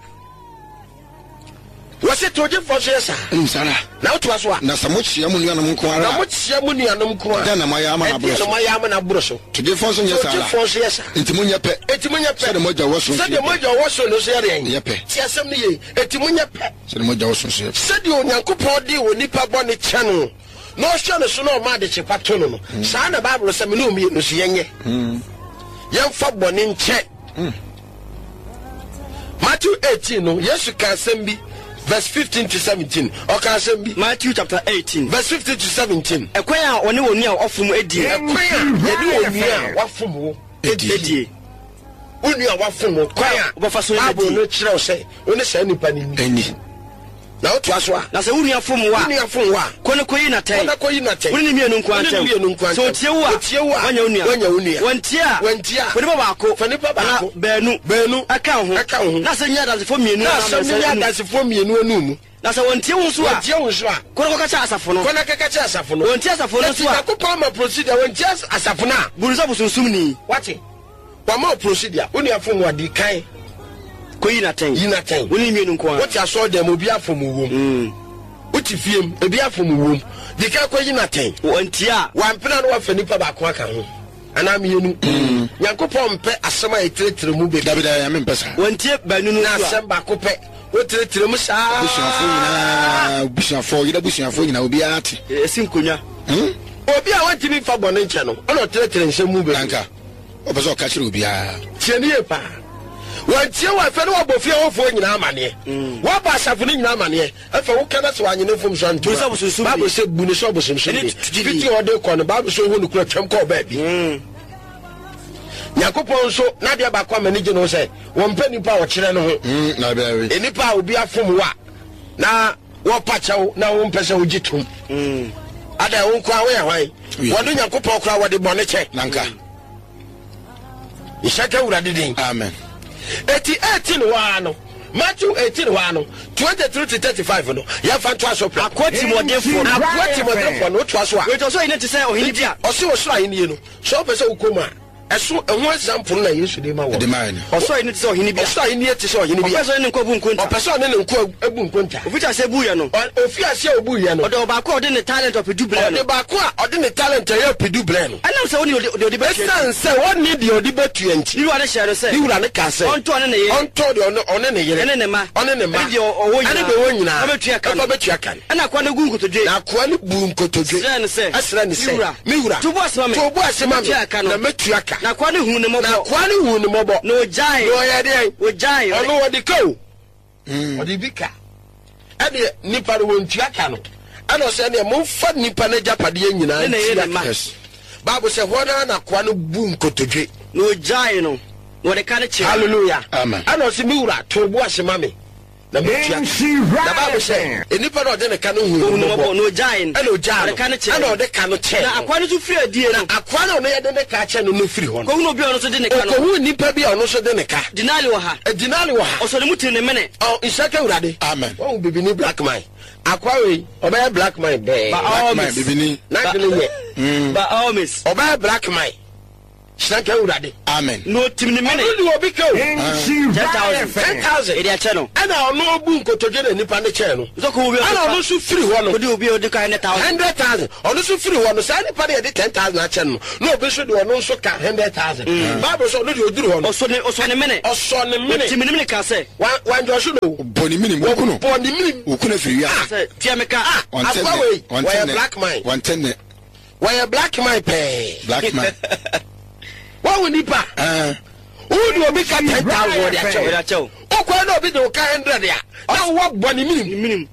S1: Wɔsi togyefoɔ nso yɛ saa.
S2: Nsara.
S1: Na wotoa so a.
S2: Na sɛ mokyia mo nuanom nko ara.
S1: Na mokyia mo nuanom nko ara.
S2: Ɛdɛn na moayɛ ama no aboro so?
S1: Ɛdɛn na moayɛ ama no aboro so?
S2: Togyefoɔ nso nyɛ saa ara.
S1: Togyefoɔ nso yɛ saa.
S2: Enti monyɛ pɛ.
S1: Enti monyɛ pɛ.
S2: Sɛdeɛ mo agya wɔ soro nso yɛ pɛ.
S1: Sɛdeɛ mo agya wɔ soro no nso yɛ deɛn?
S2: Yɛ pɛ.
S1: Ti asɛm no yie. Enti monyɛ pɛ.
S2: Sɛdeɛ mo agya wɔ soro nso yɛ pɛ.
S1: Sɛdeɛ Onyankopɔn de onipa bɔne kyɛ no, na ɔhwɛ no so na ɔma adekyepa to no no, saa na Bible sɛ me ne mmienu nso yɛnyɛ. Yɛmfa bɔne nkyɛ. Matthew eighteen no, Yesu ka asɛm bi, verse fifteen to seventeen. Ɔka asɛm bi.
S3: Matthew chapter eighteen,
S1: verse fifteen to seventeen.
S3: Ɛkwan a ɔne wɔn nua a wafom adie.
S1: Ɛkwan a yɛne wɔn nua a wafom wo
S3: adie.
S1: Wo nua a wafom wo kwan a
S3: wobɛfa so
S1: Bible no kyerɛ wo sɛ wo ne saa nipa no
S2: ni.
S1: Na wotoa so a.
S3: Na sɛ wo nua fom wo a.
S1: Wo nua fom wo a.
S3: Kɔ ne kɔyi n'atɛn.
S1: Kɔ ne kɔyi n'atɛn.
S3: Wo ne ne mmienu nko
S1: ara
S3: ntam.
S1: Sɛ
S3: otie wo a.
S1: Otie wo a.
S3: Wanya wo nua.
S1: Wanya wo nua.
S3: Wantie a.
S1: Wantie a.
S3: Fa nipa baako.
S1: Fa nipa baako.
S3: Anaa baanu.
S1: Baanu.
S3: Ɛka wo ho.
S1: Ɛka wo ho.
S3: Na asɛm nyɛ adansefoɔ mmienu
S1: Na asɛm no nyɛ adansefoɔ mmienu anum mu.
S3: Na sɛ wɔntie wo nso a.
S1: Wɔntie wo nso a.
S3: Kɔ na kɔka kyerɛ asafo no.
S1: Kɔ na kɔka kyerɛ asafo no.
S3: Wɔntie asafo no nso a.
S1: Eti Nyankopɔn ama procedure wɔntie asafo no a.
S3: Bu no sɛ bosonsomni.
S1: Wate. Wama procedure. Wo nua fom wo adi kan.
S3: Kɔyi n'atɛn.
S1: Yi n'atɛn.
S3: Wo ne mmienu nko ara.
S1: Wote asɔre dɛm obi afom wom. Wote fiem ebi afom wom. Di kan kɔyi n'atɛn.
S3: Wɔntie a.
S1: Wampena no wafa nipa baako aka ho. Anaa mmienu. Nyankopɔn mpɛ asɛm a ɛtiretire mu bebree.
S2: Dabi dabi nyame mpɛ saa.
S3: Wɔntie baanu no
S1: Na
S3: nso a.
S1: asɛm baako pɛ. Wotiretire mu saa.
S2: Abusuafoɔ nyinaa, abusuafoɔ, yɛda abusuafoɔ nyinaa obiara te.
S3: Esi nkonnwa.
S1: Obi a wɔntumi mfa bɔne nkyɛ no, ɔna ɔtiretire nsɛm mu bebree.
S2: Nanka ɔpɛ sɛ ɔka kyerɛ obiara.
S1: Tie ne yie paa. Wɔntie wɔ afɛ ne wɔbɔ fie hɔfoɔ nyinaa amanneɛ. Wɔabɔ asafo no nyinaa amanneɛ. Afɛ woka na sɛ wanyene mfom so
S3: Bu ne sɛ
S1: antoma.
S3: ɔbosonsomni.
S1: Bible sɛ bu ne sɛ ɔbosonsomni.
S3: Ɛne tugyidi.
S1: Fiti ɔde kɔ no, Bible sɛ ohu no kura twam kɔɔ baabi. Nyankopɔn nso n'adeɛ baako ama ne gye no sɛ wɔmpɛ nipa a ɔkyerɛ no ho.
S2: Na bɛɛbi.
S1: Nipa a obi afom wo a na wɔpa kyɛw na wompɛ sɛ wogye tom. Ada wo nko a woyɛ hwan? Wɔne Nyankopɔn koraa wɔde bɔne kyɛ.
S2: Nanka.
S1: Nhyɛ Awurade din.
S2: Amen.
S1: Eti eighteen hɔ ara no, Matthew eighteen hɔ ara no, twenty-three to thirty-five no, yɛmfa ntoa so pɛ.
S3: Akoa tirimuɔdenfoɔ no.
S1: Akoa tirimuɔdenfoɔ no, wotoa so a.
S3: Wei ɔsoro ahennie te sɛ ɔhene bi a.
S1: Ɔse ɔsoro ahennie no, sɛ wopɛ sɛ wokɔ mu a, ɛso ɛho example na Yesu de ma wɔ.
S2: De ma yɛn.
S3: Ɔsoro ahennie te sɛ ɔhene bi a.
S1: Ɔsoro ahennie te sɛ ɔhene bi a.
S3: Ɔpɛ sɛ ɔne ne nkoa bu nkonta.
S1: Ɔpɛ sɛ ɔne ne nkoa bu nkonta.
S3: Ofi ase buiɛ no.
S1: Ofi ase a obuiɛ no.
S3: Ɔde ɔbaako a ɔde ne talent ɔpedu brɛ no.
S1: Ɔde baako a ɔde ne talent ɛyɛ ɔpedu brɛ no.
S3: Ɛnam sɛ ɔnni deɛ ɔde bɛtua nti.
S1: Ɛsiane sɛ ɔnni deɛ ɔde bɛtua nti.
S3: Ne wura no hyɛɛ no sɛ.
S1: Ne wura no kaa sɛ.
S3: Ɔntɔ ɔne ne yere.
S1: Ɔntɔ deɛ ɔne ne yere.
S3: Ɛne ne mma.
S1: Ɔne ne mma.
S3: Ɛne deɛ ɔwɔ nyinaa.
S1: Ɛne deɛ ɔwɔ nyinaa.
S3: Ɛfa bɛtua ka no.
S1: Ɛfa bɛtua ka no.
S3: Ɛna akoa no gu nkotodwe.
S1: Na akoa no bu nkotodwe.
S3: Srɛ no sɛ.
S1: Ɛsrɛ ne sɛ.
S3: Me wura.
S1: Me wura.
S3: To bo ase ma me.
S1: To bo ase ma me.
S3: Mɛtua ka no.
S1: Na mɛtua ka.
S3: Na akoa no huu ne mmɔbɔ.
S1: Na akoa no huu ne mmɔbɔ.
S3: Na ɔgyae.
S1: Na ɔyɛ deɛn?
S3: Ɔgyae.
S1: Ɔno ɔde ka o. Ɔde bi ka. Ɛdeɛ nipa no wɔntua ka no. Ɛna ɔsɛ ɛdeɛ momfa nipa no agyapadeɛ nyinaa ntua ka. Bible sɛ hɔ naa na akoa no bu nkotodwe.
S3: Na ɔgyae no. Na ɔde ka no kyerɛ.
S1: Hallelujah.
S2: Amen.
S1: Ɛna ɔsɛ me wura to bo ase ma me. Na mɛtua ka. Na Bible sɛ nipa no ɔde ne ka no huu ne mmɔbɔ.
S3: Na ɔgyae no.
S1: Ɛna ɔgyae no.
S3: Ɔde ka no kyerɛ.
S1: Ɛna ɔde ka no kyerɛ.
S3: Na akoa no nso firi adie no.
S1: Na akoa no ɔno yɛde ne ka kyerɛ no no firi hɔ no.
S3: Kɔhunu obi a ɔno nso de ne ka no.
S1: Ɔkɔhunu nipa bi a ɔno nso de ne ka.
S3: Dinari wɔ ha.
S1: Dinari wɔ ha.
S3: Ɔsɔ ne mu tiri ne mene.
S1: Ɔ nhyɛ ka Awurade.
S2: Amen.
S1: Wɔn bibini black man. Akoa wei ɔbɛyɛ black man bɛɛ.
S2: Black man bibini.
S1: N'adwene yɛ.
S3: By all means.
S1: Ɔbɛyɛ black man. Hyerɛnka Awurade.
S2: Amen.
S3: Na ɔtim ne mene.
S1: Ɔno de obi ka o.
S3: Ten thousand.
S1: Ten thousand.
S3: Ɛde akyɛ no.
S1: Ɛna ɔno obu nkotodwe na nipa ne kyɛn no.
S3: Nso kò obi a
S1: Ɛna ɔno nso firi hɔ no.
S3: Kò obi a ɔde ka hundred thousand.
S1: Hundred thousand. Ɔno nso firi hɔ no, saa nipa no yɛde ten thousand akyɛ no na obi nso de ɔno nso ka hundred thousand. Bible sɛ ɔno de oduru hɔ no.
S3: Ɔsɔ ne ɔsɔ ne mene.
S1: Ɔsɔ ne mene.
S3: Ɔtim ne mene ka sɛ.
S1: Wanjɔso no.
S2: Bɔ ne minim woku no.
S1: Bɔ ne minim.
S2: Woku no afiri wiase.
S3: Sɛ tia me ka.
S1: Ah, akwa wei wɔyɛ black man.
S2: Wɔntɛ ne.
S1: Wɔyɛ black man pɛɛ.
S2: Black man.
S1: Wɔn nipa. Wo de obi ka ten thousand wɔde akyɛw.
S3: Wɔde akyɛw.
S1: Okɔ na obi de o ka hundred a. Na wɔ bɔ ne minim.
S3: Ne minim.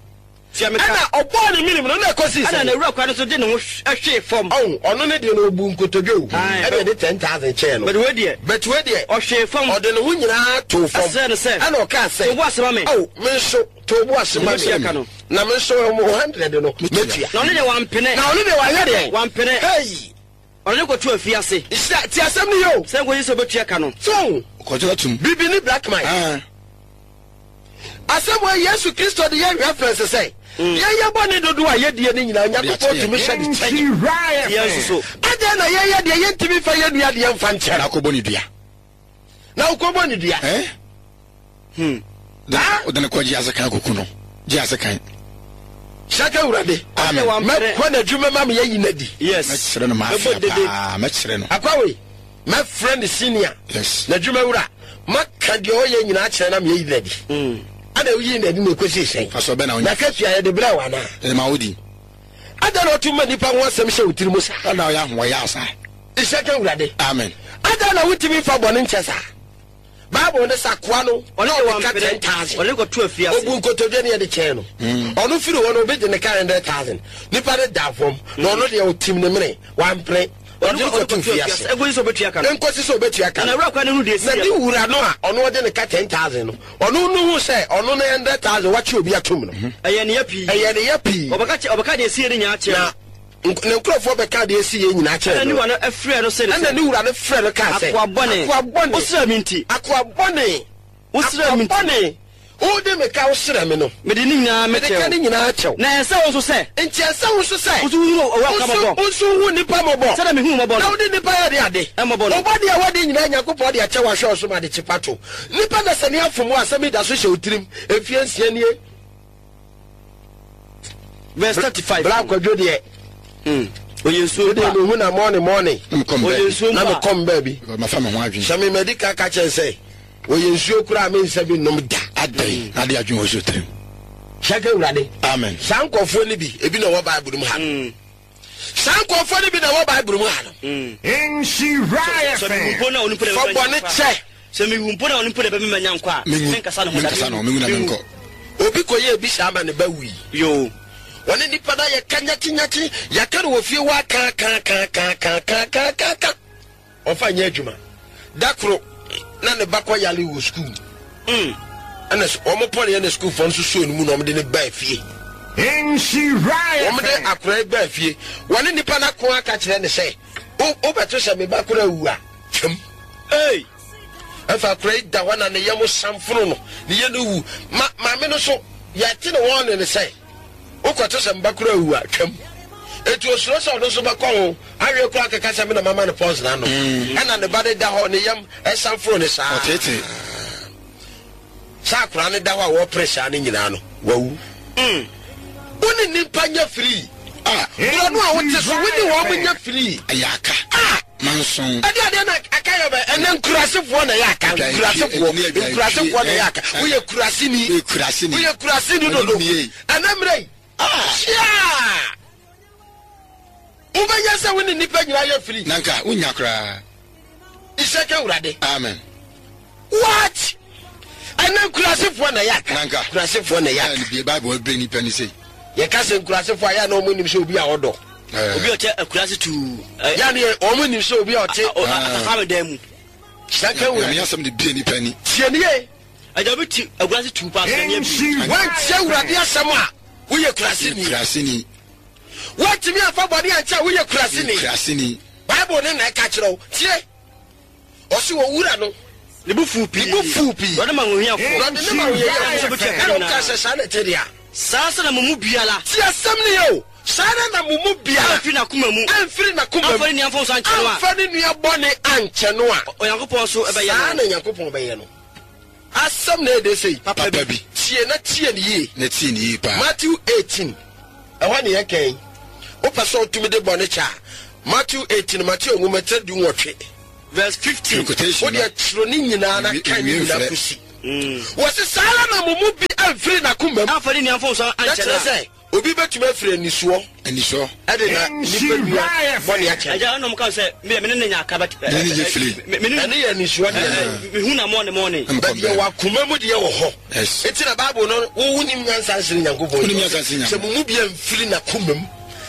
S3: Tia me ka.
S1: Ɛna ɔbɔ ne minim no na ɛkɔ si
S3: Ɛna
S1: sɛ.
S3: na ewura kwan no so de ne ho hwee fam.
S1: Ɔn ɔno ne deɛ no obu nkotodwe o.
S3: Aye.
S1: Ɛna yɛde ten thousand kyɛɛ no.
S3: Bɛde wei deɛ.
S1: Bɛti wei deɛ.
S3: Ɔhwee fam.
S1: Ɔde ne ho nyinaa too fam.
S3: Ɛsrɛ no sɛ.
S1: Ɛna ɔkaa sɛ.
S3: To bo ase ma me.
S1: Ɔw me nso to bo ase ma
S3: Metua
S1: me.
S3: ka no.
S1: Na me nso mo hundred no metua.
S3: Na ɔno deɛ wampene.
S1: Na ɔno deɛ wayɛ deɛ.
S3: Wampene.
S1: Hey.
S3: Ɔno ne kɔto afiase.
S1: Nhyira ti asɛm ni yɛ o.
S3: Sɛ nkɔsi sɛ ɔbɛtua ka no.
S1: So
S2: Kɔtɔ tum.
S1: bibi ni black man.
S2: Ah.
S1: Asɛm wɔ Yesu Kristo de yɛ reference sɛ yɛyɛ bɔ ne dodo a yɛdie ne nyinaa Onyankopɔn tumi hyɛ de kyɛ.
S3: Yɛn nso so.
S1: Adɛn na yɛyɛ deɛ yɛntumi fa yɛ nua deɛ mfa nkyɛ
S2: Na akɔbɔ ne dua.
S1: Na wokɔbɔ ne dua.
S2: Eh?
S3: Hmm.
S2: Wode ne kɔ gye ase kan koku no. Gye ase kan.
S1: Hyɛka Awurade.
S2: Amen.
S3: Wampene.
S1: Mɛkɔ n'adwuma ma meyɛyi n'adi.
S3: Yes.
S2: Mɛkyerɛ no maafia
S3: Mɛbɔ dede.
S2: paa. Mɛkyerɛ no.
S1: Akwawe, mɛfrɛ ne senior.
S2: Yes.
S1: N'adwuma wura. Maka deɛ ɔyɛ nyinaa kyerɛ na meyɛyi n'adi.
S3: Hmm.
S1: Ana woyi n'adi na ɛkɔsi sɛn?
S2: Fa sɛ ɔbɛ na wonya.
S1: Na katua yɛde brɛ wo anaa?
S2: Ɛde ma wodi.
S1: Adɛn na ɔto ma nnipa ho asɛm hyɛ wo tiri mu saa?
S2: Ɛna ɔyɛ ahoɔyɛ asa.
S1: Hyɛka Awurade.
S2: Amen.
S1: Adɛn na wotumi fa bɔne nkyɛ saa? Bible ne sɛ akoa no
S3: Ɔno
S1: na
S3: deɛ
S1: ɔde ka
S3: wampene.
S1: ten thousand.
S3: Ɔno ne kɔto afiase.
S1: Obu nkotodwe ne yɛde kyɛn no. Ɔno firi hɔ no obi de ne ka hundred thousand. Nipa ne da fam na ɔno deɛ ɔtim ne mene wampene. Ɔde ne kɔto fiase.
S3: Ɛnkɔsi sɛ ɔbɛtua ka no.
S1: Nkosi sɛ ɔbɛtua ka
S3: Na
S1: no.
S3: ewura kwan no hu deɛ
S1: Na
S3: esi
S1: ne wura no a ɔno ɔde ne ka ten thousand no ɔno no hu sɛ ɔno ne hundred thousand wakye obi atom no.
S3: Ɛyɛ ne yɛ pii.
S1: Ɛyɛ ne yɛ pii.
S3: Ɔbɛka kyɛ ɔbɛka deɛ esi yɛ ne nyinaa kyerɛ
S1: Na
S3: no.
S1: nk- ne nkurɔfoɔ bɛka deɛ esi yɛ nyinaa kyerɛ
S3: Ɛna ne
S1: no.
S3: wura no ɛfrɛ no sɛ ne
S1: Ɛna
S3: sɛ.
S1: ne wura no frɛ no kaa sɛ.
S3: Akoa bɔne.
S1: Akoa bɔne.
S3: Wosrɛ me nti.
S1: Akoa bɔne.
S3: Wosrɛ me
S1: Akoa
S3: nti.
S1: bɔne. Wode me ka wosrɛ me no.
S3: Mede ne nyinaa
S1: Mede ka
S3: mɛkyɛ
S1: ne
S3: wo.
S1: nyinaa kyɛw.
S3: Na ɛsɛ wo nso sɛ.
S1: Nti ɛsɛ wo nso sɛ.
S3: Wo nso wohu owura ka mmɔbɔ.
S1: Wo nso hu nipa mmɔbɔ.
S3: Sɛdeɛ mehu mmɔbɔ
S1: Na
S3: no.
S1: wode nipa yɛ de ade.
S3: Ɛmmɔbɔ no.
S1: Wobɔ deɛ wadi nyinaa Nyankopɔn de akyɛ wahwɛ wo so ma de kyepa to. Nipa na sɛ ne afom wo asɛm yi da so hyɛ wo tirim. Mfie nsia nie.
S3: Verse thirty five.
S1: Bra akwadwo deɛ.
S3: Hmm. Oyɛ nsuo
S1: Wode
S3: mpo a.
S1: mehu na mɔne mɔne.
S2: Na mekɔ
S3: Oyɛ
S2: mbaabi.
S3: nsuo
S1: Na
S3: mpo a.
S1: mekɔ mbaabi.
S2: Mafa me ho adwene.
S1: Sɛ memadi ka ka kyɛn sɛ wɔyɛ nsuo koraa mensa bi nom da.
S2: Adɛn na ade adwene wɔ so tirim.
S1: Hyɛka Awurade.
S2: Amen.
S1: Saa nkɔfoɔ no bi ebi na ɛwɔ Bible mu ha no.
S3: Hmm.
S1: Saa nkɔfoɔ no bi na ɛwɔ Bible mu ha no.
S3: Hmm.
S4: Nhyira
S3: Sɛ mewu
S4: F M.
S3: mpo na ɔno mpo na
S1: Fa
S3: ɛbɛma
S1: bɔne
S3: nya nkwa.
S1: kyɛ.
S3: Sɛ mewu mpo na ɔno mpo na ɛbɛma nya nkwa a.
S2: Menwu.
S3: Menkasa ne ho da.
S2: Menkasa ne ho. Menwu na
S3: Menwu.
S2: menkɔ.
S1: Obi kɔyɛ ebi saa ma ne ba wui.
S3: Yoo.
S1: Wɔne nipa na yɛka nyakyenyakye yɛka no wɔ fie hɔ aka ka ka ka ka ka ka ka ka ɔfa nyɛ adwuma da koro na ne ba kɔ yale wɔ sukuu
S3: Hmm.
S1: ɛna s- wɔn pɔn yɛ ne sukuufoɔ nso suo no mu na wɔn de ne baa fie
S4: Nhyira
S1: wɔn de
S4: F M.
S1: akora yi baa fie wɔne nipa na ko aka kyerɛ ne sɛ wo wobɛto sɛ me ba koro awu a twam.
S3: Hey.
S1: Ɛfɛ akora yi da hɔ na ne yam samfono no ne yɛ no wu ma maame no so yɛte ne wɔn ne ne sɛ wokɔto sɛ mba koro awu a twam etu osuro sɛ ɔno nso bɛkɔ ho awie koro akeka sɛ me na mama ne pɔs n'ano ɛna ne ba ne da hɔ ne yam ɛsamfono ne saa.
S2: Ɔtete.
S1: Saa akora ne da hɔ a wɔpere saa ne nyinaa no wawu.
S3: Hmm.
S1: Wo ne nipa nya firi.
S2: Ah.
S1: Borɔ no a wote so wo ne wɔn mo nya firi.
S2: Ɛyɛ aka.
S1: Ah.
S2: Manson.
S1: Ɛde adeɛ na aka yɛ bɛ ɛnɛ nkurasefoɔ na ɛyɛ aka.
S2: Adwae
S1: nkurasefoɔ
S2: pie, ɛne adwae
S1: nkurasefoɔ na ɛyɛ aka.
S2: pie, eh,
S1: Woyɛ kuraseni.
S2: Woyɛ kuraseni.
S1: Woyɛ kuraseni dodo.
S2: Ɛne nie.
S1: Ɛnɛ mmerɛ yi hyia wobɛnya sɛ wo ne nnipa nyinaa yɛ firi.
S2: Na nka wonya koraa.
S1: Ihyɛka Awurade.
S2: Amen.
S1: What? Ɛnɛ nkurasefoɔ na ɛyɛ aka.
S2: Na nka.
S1: Nkurasefoɔ na ɛyɛ aka.
S2: Ɛna bie Bible ɛbɛ nipa ni sei.
S1: Yɛka sɛ nkurasefoɔ a yɛ na ɔmo nim sɛ obi a ɔdɔ.
S2: Ɛɛ.
S3: Obi a ɔkyɛ akuraase tuu. Ɛ-
S1: Yɛ ne ɔmo nim sɛ obi a ɔte.
S3: a- a- Atafa me dan mu.
S1: Hyɛka
S2: Nyame
S1: Awurade.
S2: asɛm de bie nipa ni.
S1: Tie nie.
S3: Agya obi ti akuraase tuu paa sɛ ne bi.
S1: Wantie Awurade asɛm a woyɛ kuraseni.
S2: Kuraseni.
S1: Woatumi afa bɔne ankyɛ a woyɛ kuraseni.
S2: Kuraseni.
S1: Bible ne na ɛka kyerɛ wo. Tie. Ɔse wɔ wura no
S3: Ne bo fuu pii.
S1: Ne bo fuu pii.
S3: Ɔde ma ahohiafoɔ.
S1: Ɔde ne ma ahohiafoɔ.
S3: Nso bɛtua ka
S1: Ɛna
S3: nyinaa.
S1: ɔka sɛ saa na ɛte deɛ a.
S3: Saa sɛ na mo mu biara.
S1: Tie asɛm no yɛ o. Saa ara na mo mu biara
S3: amfiri n'akoma mu
S1: amfiri n'akoma mu
S3: amfa ne nua mfomso ankyɛ no a,
S1: amfa ne nua bɔne ankyɛ no a,
S3: Onyankopɔn nso bɛyɛ
S1: saa
S3: no.
S1: na Nyankopɔn bɛyɛ no. Asɛm na ɛde sei.
S2: Papa bi.
S1: Tie na tie ne yie.
S2: Na tie ne yie paa.
S1: Matthew eighteen, ɛhɔ ne yɛkɛn. Wopɛ sɛ wotumi de bɔne kyɛ a, Matthew eighteen, Matthew nwoma tire du nwɔtwe
S3: verse fifteen.
S2: Quotation
S1: wode akyerɛ ne nyinaa na
S2: Nwie-
S1: kan ne
S2: nwie
S1: nyinaa
S2: mfrɛ.
S1: kɔsi. Wɔse saa ara na mo mu bi amfiri n'akoma mu.
S3: Amfa ne nua mfomso
S1: Na
S3: ankyɛ
S1: kyerɛ
S3: no a,
S1: sɛ obi bɛtumi afiri anisoɔ
S2: anisɔ
S1: ɛde na nipa nua bɔne akyɛ.
S3: Agya ɛna ɔmo ka sɛ me me ne ne nya aka bɛt
S2: Ne ne nyɛ fili.
S3: me ne
S1: Ɛne yɛ anisoɔ deɛ.
S3: mehu na mɔne mɔne.
S2: Ɛm-
S1: But deɛ wɔ akoma mu deɛ wɔ hɔ.
S2: Yes.
S1: Enti na Bible no, wo wonim nyansa nsene Nyankopɔn.
S2: Wonim nyansa nsene
S1: Sɛ
S2: Nyankopɔn.
S1: mo mu bi amfiri n'akoma mu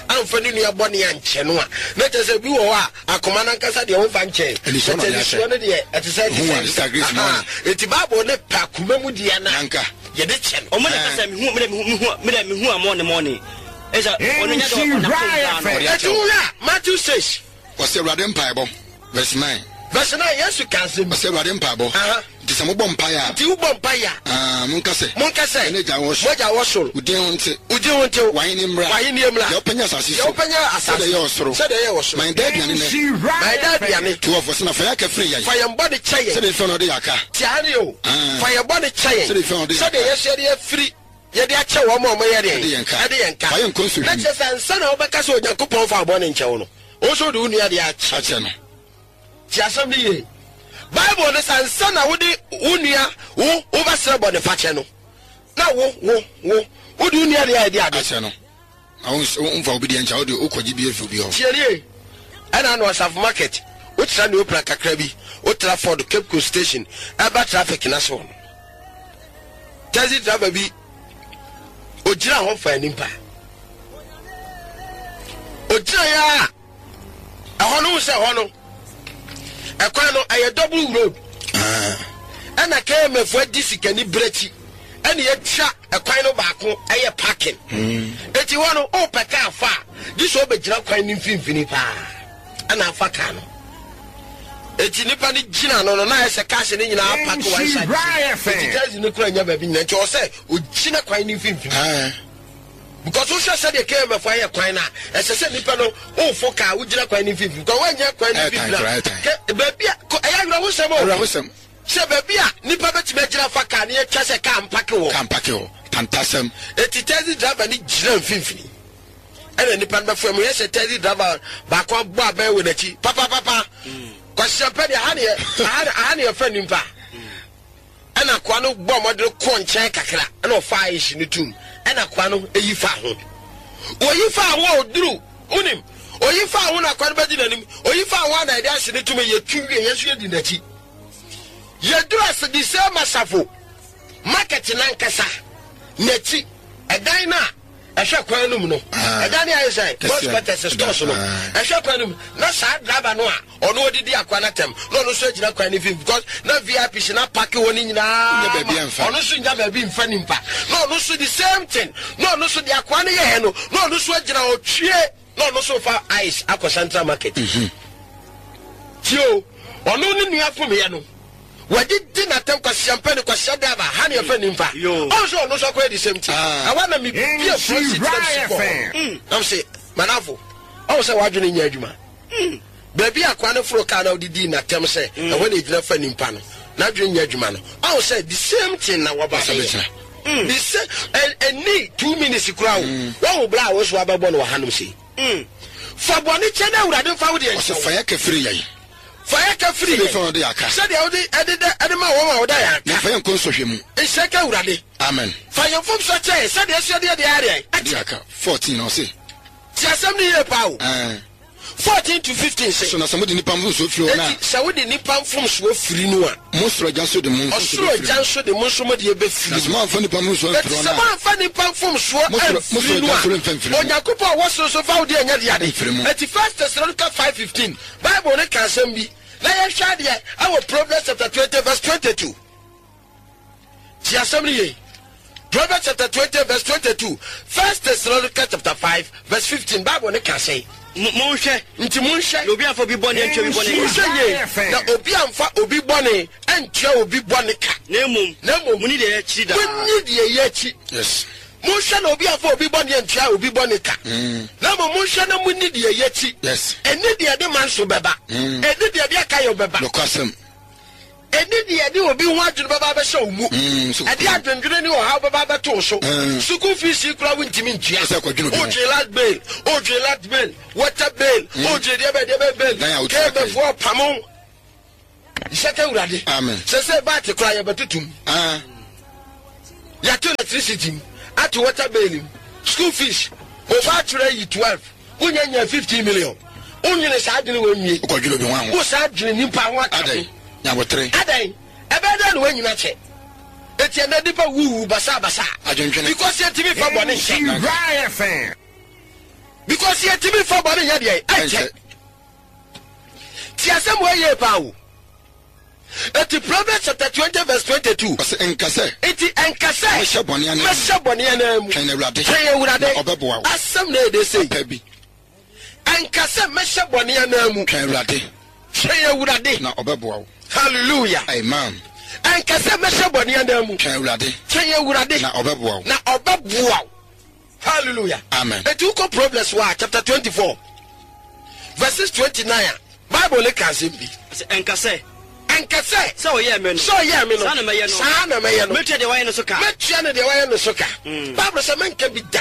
S1: amfa ne nua bɔne ankyɛ no a, na kyerɛ sɛ bi wɔ hɔ a akoma no ankasa deɛ womfa nkyɛn.
S2: Anisoɔ na
S1: But
S2: ɔde akyɛ.
S1: anisoɔ no deɛ ɛte sɛ ɛte
S2: Hu a,
S1: sɛ.
S2: Sister Grace
S1: Aha.
S2: Mɔne.
S1: Enti Bible ne pɛ akoma mu deɛ no a
S2: Nanka.
S1: yɛde kyɛ no.
S3: Ɔmo na ka sɛ mehu me dɛ mehu mehu me dɛ mehu a mɔne mɔne ɛsɛ ɔno nya dɛ ɔnakoma mu daa no.
S2: Ɔde
S1: Enti
S2: akyɛ wo.
S1: wohwɛ a, Matthew six
S2: Ɔsɛ Awurade mpaebɔ, verse nine.
S1: Verse nine, Yesu ka asɛm bi.
S2: Ɔsɛ Awurade mpaebɔ.
S1: Aha.
S2: Nti sɛ mobɔ mpaeɛ a,
S1: Nti wobɔ mpaeɛ a,
S2: ah, monka sɛ,
S1: monka sɛ,
S2: Yɛn Agya wɔ soro.
S1: Mo Agya wɔ soro,
S2: wo din ho nte,
S1: wo din ho ntew,
S2: w'ahenni mmra,
S1: w'ahenni mmra,
S2: deɛ wopɛ nyɛ asase
S1: deɛ
S2: so,
S1: wopɛ nyɛ asase
S2: sɛdeɛ ɛyɛ wɔ soro.
S1: sɛdeɛ ɛyɛ wɔ soro.
S2: Ma yɛn daa aduane nnɛ.
S1: Ma yɛn daa aduane.
S2: Twelve, ɔsɛ na fa yɛn aka firi yɛn,
S1: Fa yɛn bɔne kyɛ yɛn.
S2: sɛdeɛ yɛfiri na ɔde yɛn aka.
S1: Tia ha ne o.
S2: Ah.
S1: Fa yɛn bɔne kyɛ yɛn.
S2: Sɛdeɛ yɛfiri na ɔde yɛn
S1: Sɛdeɛ
S2: aka.
S1: yɛsɛ yɛde afiri yɛde akyɛ wɔn a wɔyɛ deɛ
S2: Ɛde yɛn ka.
S1: ɛde yɛn ka.
S2: Fa yɛn nkɔ nsɔhwɛ
S1: Na
S2: mu.
S1: kyerɛ sɛ ansa na wobɛka sɛ Onyankopɔn fa bɔne nkyɛ wo no, wo nso wode wo nua deɛ akyɛ.
S2: Akyɛ no.
S1: Tie asɛm no yie. Bible no sɛ ansa na wode wo nua wo wobɛsrɛ bɔne fakyɛ no, na wo wo wo wode wo nua deɛ ayɛ de ade.
S2: Akyɛ no. Na wo ns- wo- womfa obi deɛ nkyɛ, wode wokɔgye bi afiri obi hɔ.
S1: Tie nie. Ɛna ano Asafo market, wotra ne opra kakra bi, wotra Ford Cape Coast station, ɛba traffic na so no, taxi driver bi ogyina hɔ fa nipa ogyina yɛ a, ɛhɔ no wo sɛ ɛhɔ no ɛkwan no ɛyɛ double road.
S2: Ah,
S1: Ɛna K M F adi sikani berɛkyi ɛne yɛtwa ɛkwan no baako ɛyɛ parking. Eti hɔ no wopɛ kaa fa a, gye sɛ wobɛgyina kwan no mfimfini paa ɛna afa kaa no. Eti nipa no gyina no no na ayɛ sɛ cars no nyinaa park one side. Eti taxi no kura nya baabi nyina, nti ɔwɔ sɛ ogyina kwan no mfimfini
S2: ah,
S1: because wohwɛ sɛdeɛ K M F ayɛ kwan no a, ɛsɛ sɛ nipa no wofo kaa wogyina kwan no mfimfini because woanyɛ kwan no
S2: Ɛyɛ tan
S1: mfimfini
S2: koraa,
S1: a
S2: ɛyɛ tan.
S1: kɛ- baabi a kɔ- ɛyɛ awerɛhosɛm o
S2: Awerɛhosɛm.
S1: sɛ baabi a nipa bɛtumi agyina fa kaa ne yɛtwa sɛ kaa mpark wɔ.
S2: Ka mpark hɔ. Tantasɛm.
S1: Eti taxi driver ni gyina mfimfini ɛna nipa no bɛfo mu yɛ sɛ taxi driver baako abɔ abɛn wɔ n'akyi papapapa kwasiampɛ deɛ aha ne yɛ aha aha ne yɛfɛ nipa. Ɛna akoa no bɔ ɔmɔden kɔ nkyɛn kakra ɛna ɔfa ayehye no tum ɛna akoa no eyi fa ho, oyi fa ho a oduru unim oyi fa ho na akoa no bɛdi n'anim, oyi fa ho a na yɛde ahye no tum, yɛtu wie, yɛn nso yɛdi n'akyi, yɛduru ase de sɛ Masafo market nankasa n'akyi ɛdan no a ɛhwɛ kwan no mu no,
S2: Ah.
S1: ɛdan no ayɛ sɛ
S2: Kɛseɛ.
S1: boys quarters stores no,
S2: Ah.
S1: ɛhwɛ kwan no mu na saa driver no a ɔno odidi akwa no atɛm na ɔno nso agyina kwan no fi because na V I P si na park wɔ ne nyinaa
S2: Nya baabi
S1: ma-
S2: amfa.
S1: Ɔno nso nya baabi mfa nimpa na ɔno nso the same thing na ɔno nso de akoa no yɛɛ no na ɔno nso agyina ɔtwie na ɔno nso fa ice akɔ Central Market. Tie o, ɔno ne nua fomyɛ no wɔde di n'atɛm kwasiampɛ ne kwasia driver ha ne yɛfɛ nimpa.
S3: Yo.
S1: Ɔno nso ɔno nso akɔyɛ the same thing.
S2: Ah.
S1: Ɛwɔ na mi bie front seat na mi si kɔ hɔ nam sɛ manafo ɔwɔ sɛ wadwene nyɛ adwuma baabi akoa no foro kaa na ɔde dii n'atɛm sɛ ɛhɔ na egyina fa nimpa no n'adwene nyɛ adwuma no, ɔwɔ sɛ the same thing na wɔba
S2: Ɔsɛ
S1: bɛyɛ
S2: bɛkyerɛ.
S1: The same ɛ ɛni two minutes kura o wɔn wo bla a wɔso abɛbɔ no wɔ hanom sei fa bɔne kyɛ na Awurade nfa wo deɛ
S2: Ɔsɛ
S1: nkyɛw.
S2: fa yɛ kɛfiri yɛn.
S1: Fa yɛ ka firi
S2: Sɛdeɛ
S1: yɛn.
S2: fɛn ɔde yɛ aka.
S1: Sɛdeɛ wode ɛde dɛ ɛde ma wɔn a wɔda yɛn
S2: Na
S1: aka.
S2: fa yɛn nkɔ nsɔhwɛ mu.
S1: Nhyɛ ka Awurade.
S2: Amen.
S1: Fa yɛn mfomso kyɛ yɛn sɛdeɛ ɛsɛ deɛ deɛ ayɛ
S2: De aka fourteen ɔse.
S1: Ti asɛm no yie paa o.
S2: Ɛɛ
S1: fourteen to fifteen
S2: so
S1: sɛ
S2: na sɛ mode nipa mfomsoɔ firi hɔ na
S1: eti sɛ wode nipa mfomsoɔ firi no a,
S2: mo soro Agya nso de mo mfomsoɔ
S1: ɔsoro
S2: bɛfiri
S1: Agya
S2: mo.
S1: nso de mo nso mo deɛ
S2: Na
S1: bɛfiri
S2: sɛ
S1: mu.
S2: moamfa nipa mfomsoɔ
S1: Eti
S2: amfiri hɔ
S1: sɛ
S2: no a
S1: moamfa nipa mfomsoɔ
S2: Mo soro- mo
S1: amfiri
S2: soro
S1: no
S2: Agya nso
S1: a,
S2: remfa mfiri mo.
S1: Onyankopɔn a ɔwɔ soro so fa wo deɛ nyɛ de ade.
S2: Mfiri mo.
S1: Eti First Thessalonica five fifteen, Bible ne ka asɛm bi na yɛhwɛ adeɛ ɛwɔ Proverbs chapter twenty verse twenty-two. Ti asɛm no yie. Proverbs chapter twenty verse twenty-two, First Thessalonica chapter five verse fifteen, Bible ne ka sɛ
S3: Mo- monhwɛ
S1: nti monhwɛ
S3: na obi amfa obi bɔne antua obi bɔne ka.
S1: Monhwɛ yie na obi amfa obi bɔne antua obi bɔne ka.
S3: Na mmom
S1: Na mmom
S3: muni deɛ yɛakyiri daa.
S1: Monni deɛ yɛ akyi.
S2: Yes.
S1: Monhwɛ na obi afa obi bɔne antua obi bɔne ka, na mmom monhwɛ na monni deɛ yɛkyi.
S2: Yes.
S1: Ɛne deɛ de ma nso bɛba, ɛne deɛ de aka yɛ bɛba,
S2: Nokwasɛm.
S1: Ɛne deɛ de obi ho adwene bɛba bɛhyɛ wo mu,
S2: Mm, so-
S1: ɛde adwendwene ne ɔhaw bɛba bɛto wo so.
S2: Mm.
S1: Sukuu fees yi koraa wontumi ntua.
S2: Sɛ kɔdwene obi ho.
S1: Wodwene light bill, wodwene light bill, water bill, wodwene deɛ bɛ deɛ bɛ bill.
S2: Dan a wotua ka yi.
S1: Kɛbɛfoɔ pamo nhyɛ ka Awurade.
S2: Amen.
S1: Sɛ sɛ baate koraa yɛbɛtotom,
S2: Ah.
S1: yɛato electricity mu, ato water bill mu, school fees, ɔba atwerɛ yi twelve, wonya nya fifteen million, wonwene saa adwene wɔ nwie.
S2: Wokɔdwene obi ho aho.
S1: Wo saa adwene nipa ho aka ho.
S2: Adɛn? Nyabotere.
S1: Adan ɛbɛyɛ dɛ na woanyina kyɛ eti ɛnɛ nipa wuwu basabasa
S2: Adwendwene.
S1: because yɛntumi fa bɔne nhyɛ,
S4: Nhyira F M.
S1: because yɛntumi fa bɔne nyɛ deɛ ɛnkyɛ.
S2: Ɛnkyɛ.
S1: Ti asɛm wɔ yie paa o. Eti Proverbs chapter twenty verse twenty-two.
S2: Ɔsɛ nka sɛ
S1: Eti ɛnka sɛ
S2: mɛhyɛ bɔne anan mu.
S1: Mɛhyɛ bɔne anan mu.
S2: Twɛn Awurade.
S1: Twɛn Awurade.
S2: Na ɔbɛboa wo.
S1: Asɛm na ɛde sei.
S2: Pɛ bi.
S1: Ɛnka sɛ mɛhyɛ bɔne anan mu.
S2: Twɛn Awurade.
S1: Twɛn Awurade.
S2: Na ɔbɛboa wo.
S1: Hallelujah.
S2: Amen.
S1: Ɛnka sɛ mɛhyɛ bɔne anan mu.
S2: Twɛn Awurade.
S1: Twɛn Awurade.
S2: Na ɔbɛboa wo.
S1: Na ɔbɛboa wo. Hallelujah.
S2: Amen.
S1: Eti wokɔ Proverbs wa chapter twenty-four verses twenty-nine a, Bible ne ka asɛm bi.
S3: Sɛ ɛnka sɛ
S1: Ɛnka sɛ
S3: sɛ ɔyɛɛ me no,
S1: sɛ ɔyɛɛ me no,
S3: saa na mɛyɛ no.
S1: Saa na mɛyɛ no.
S3: Mɛtua deɛ wayɛ no so ka.
S1: Mɛtua no deɛ wayɛ no so ka. Bible sɛ mɛnka bi da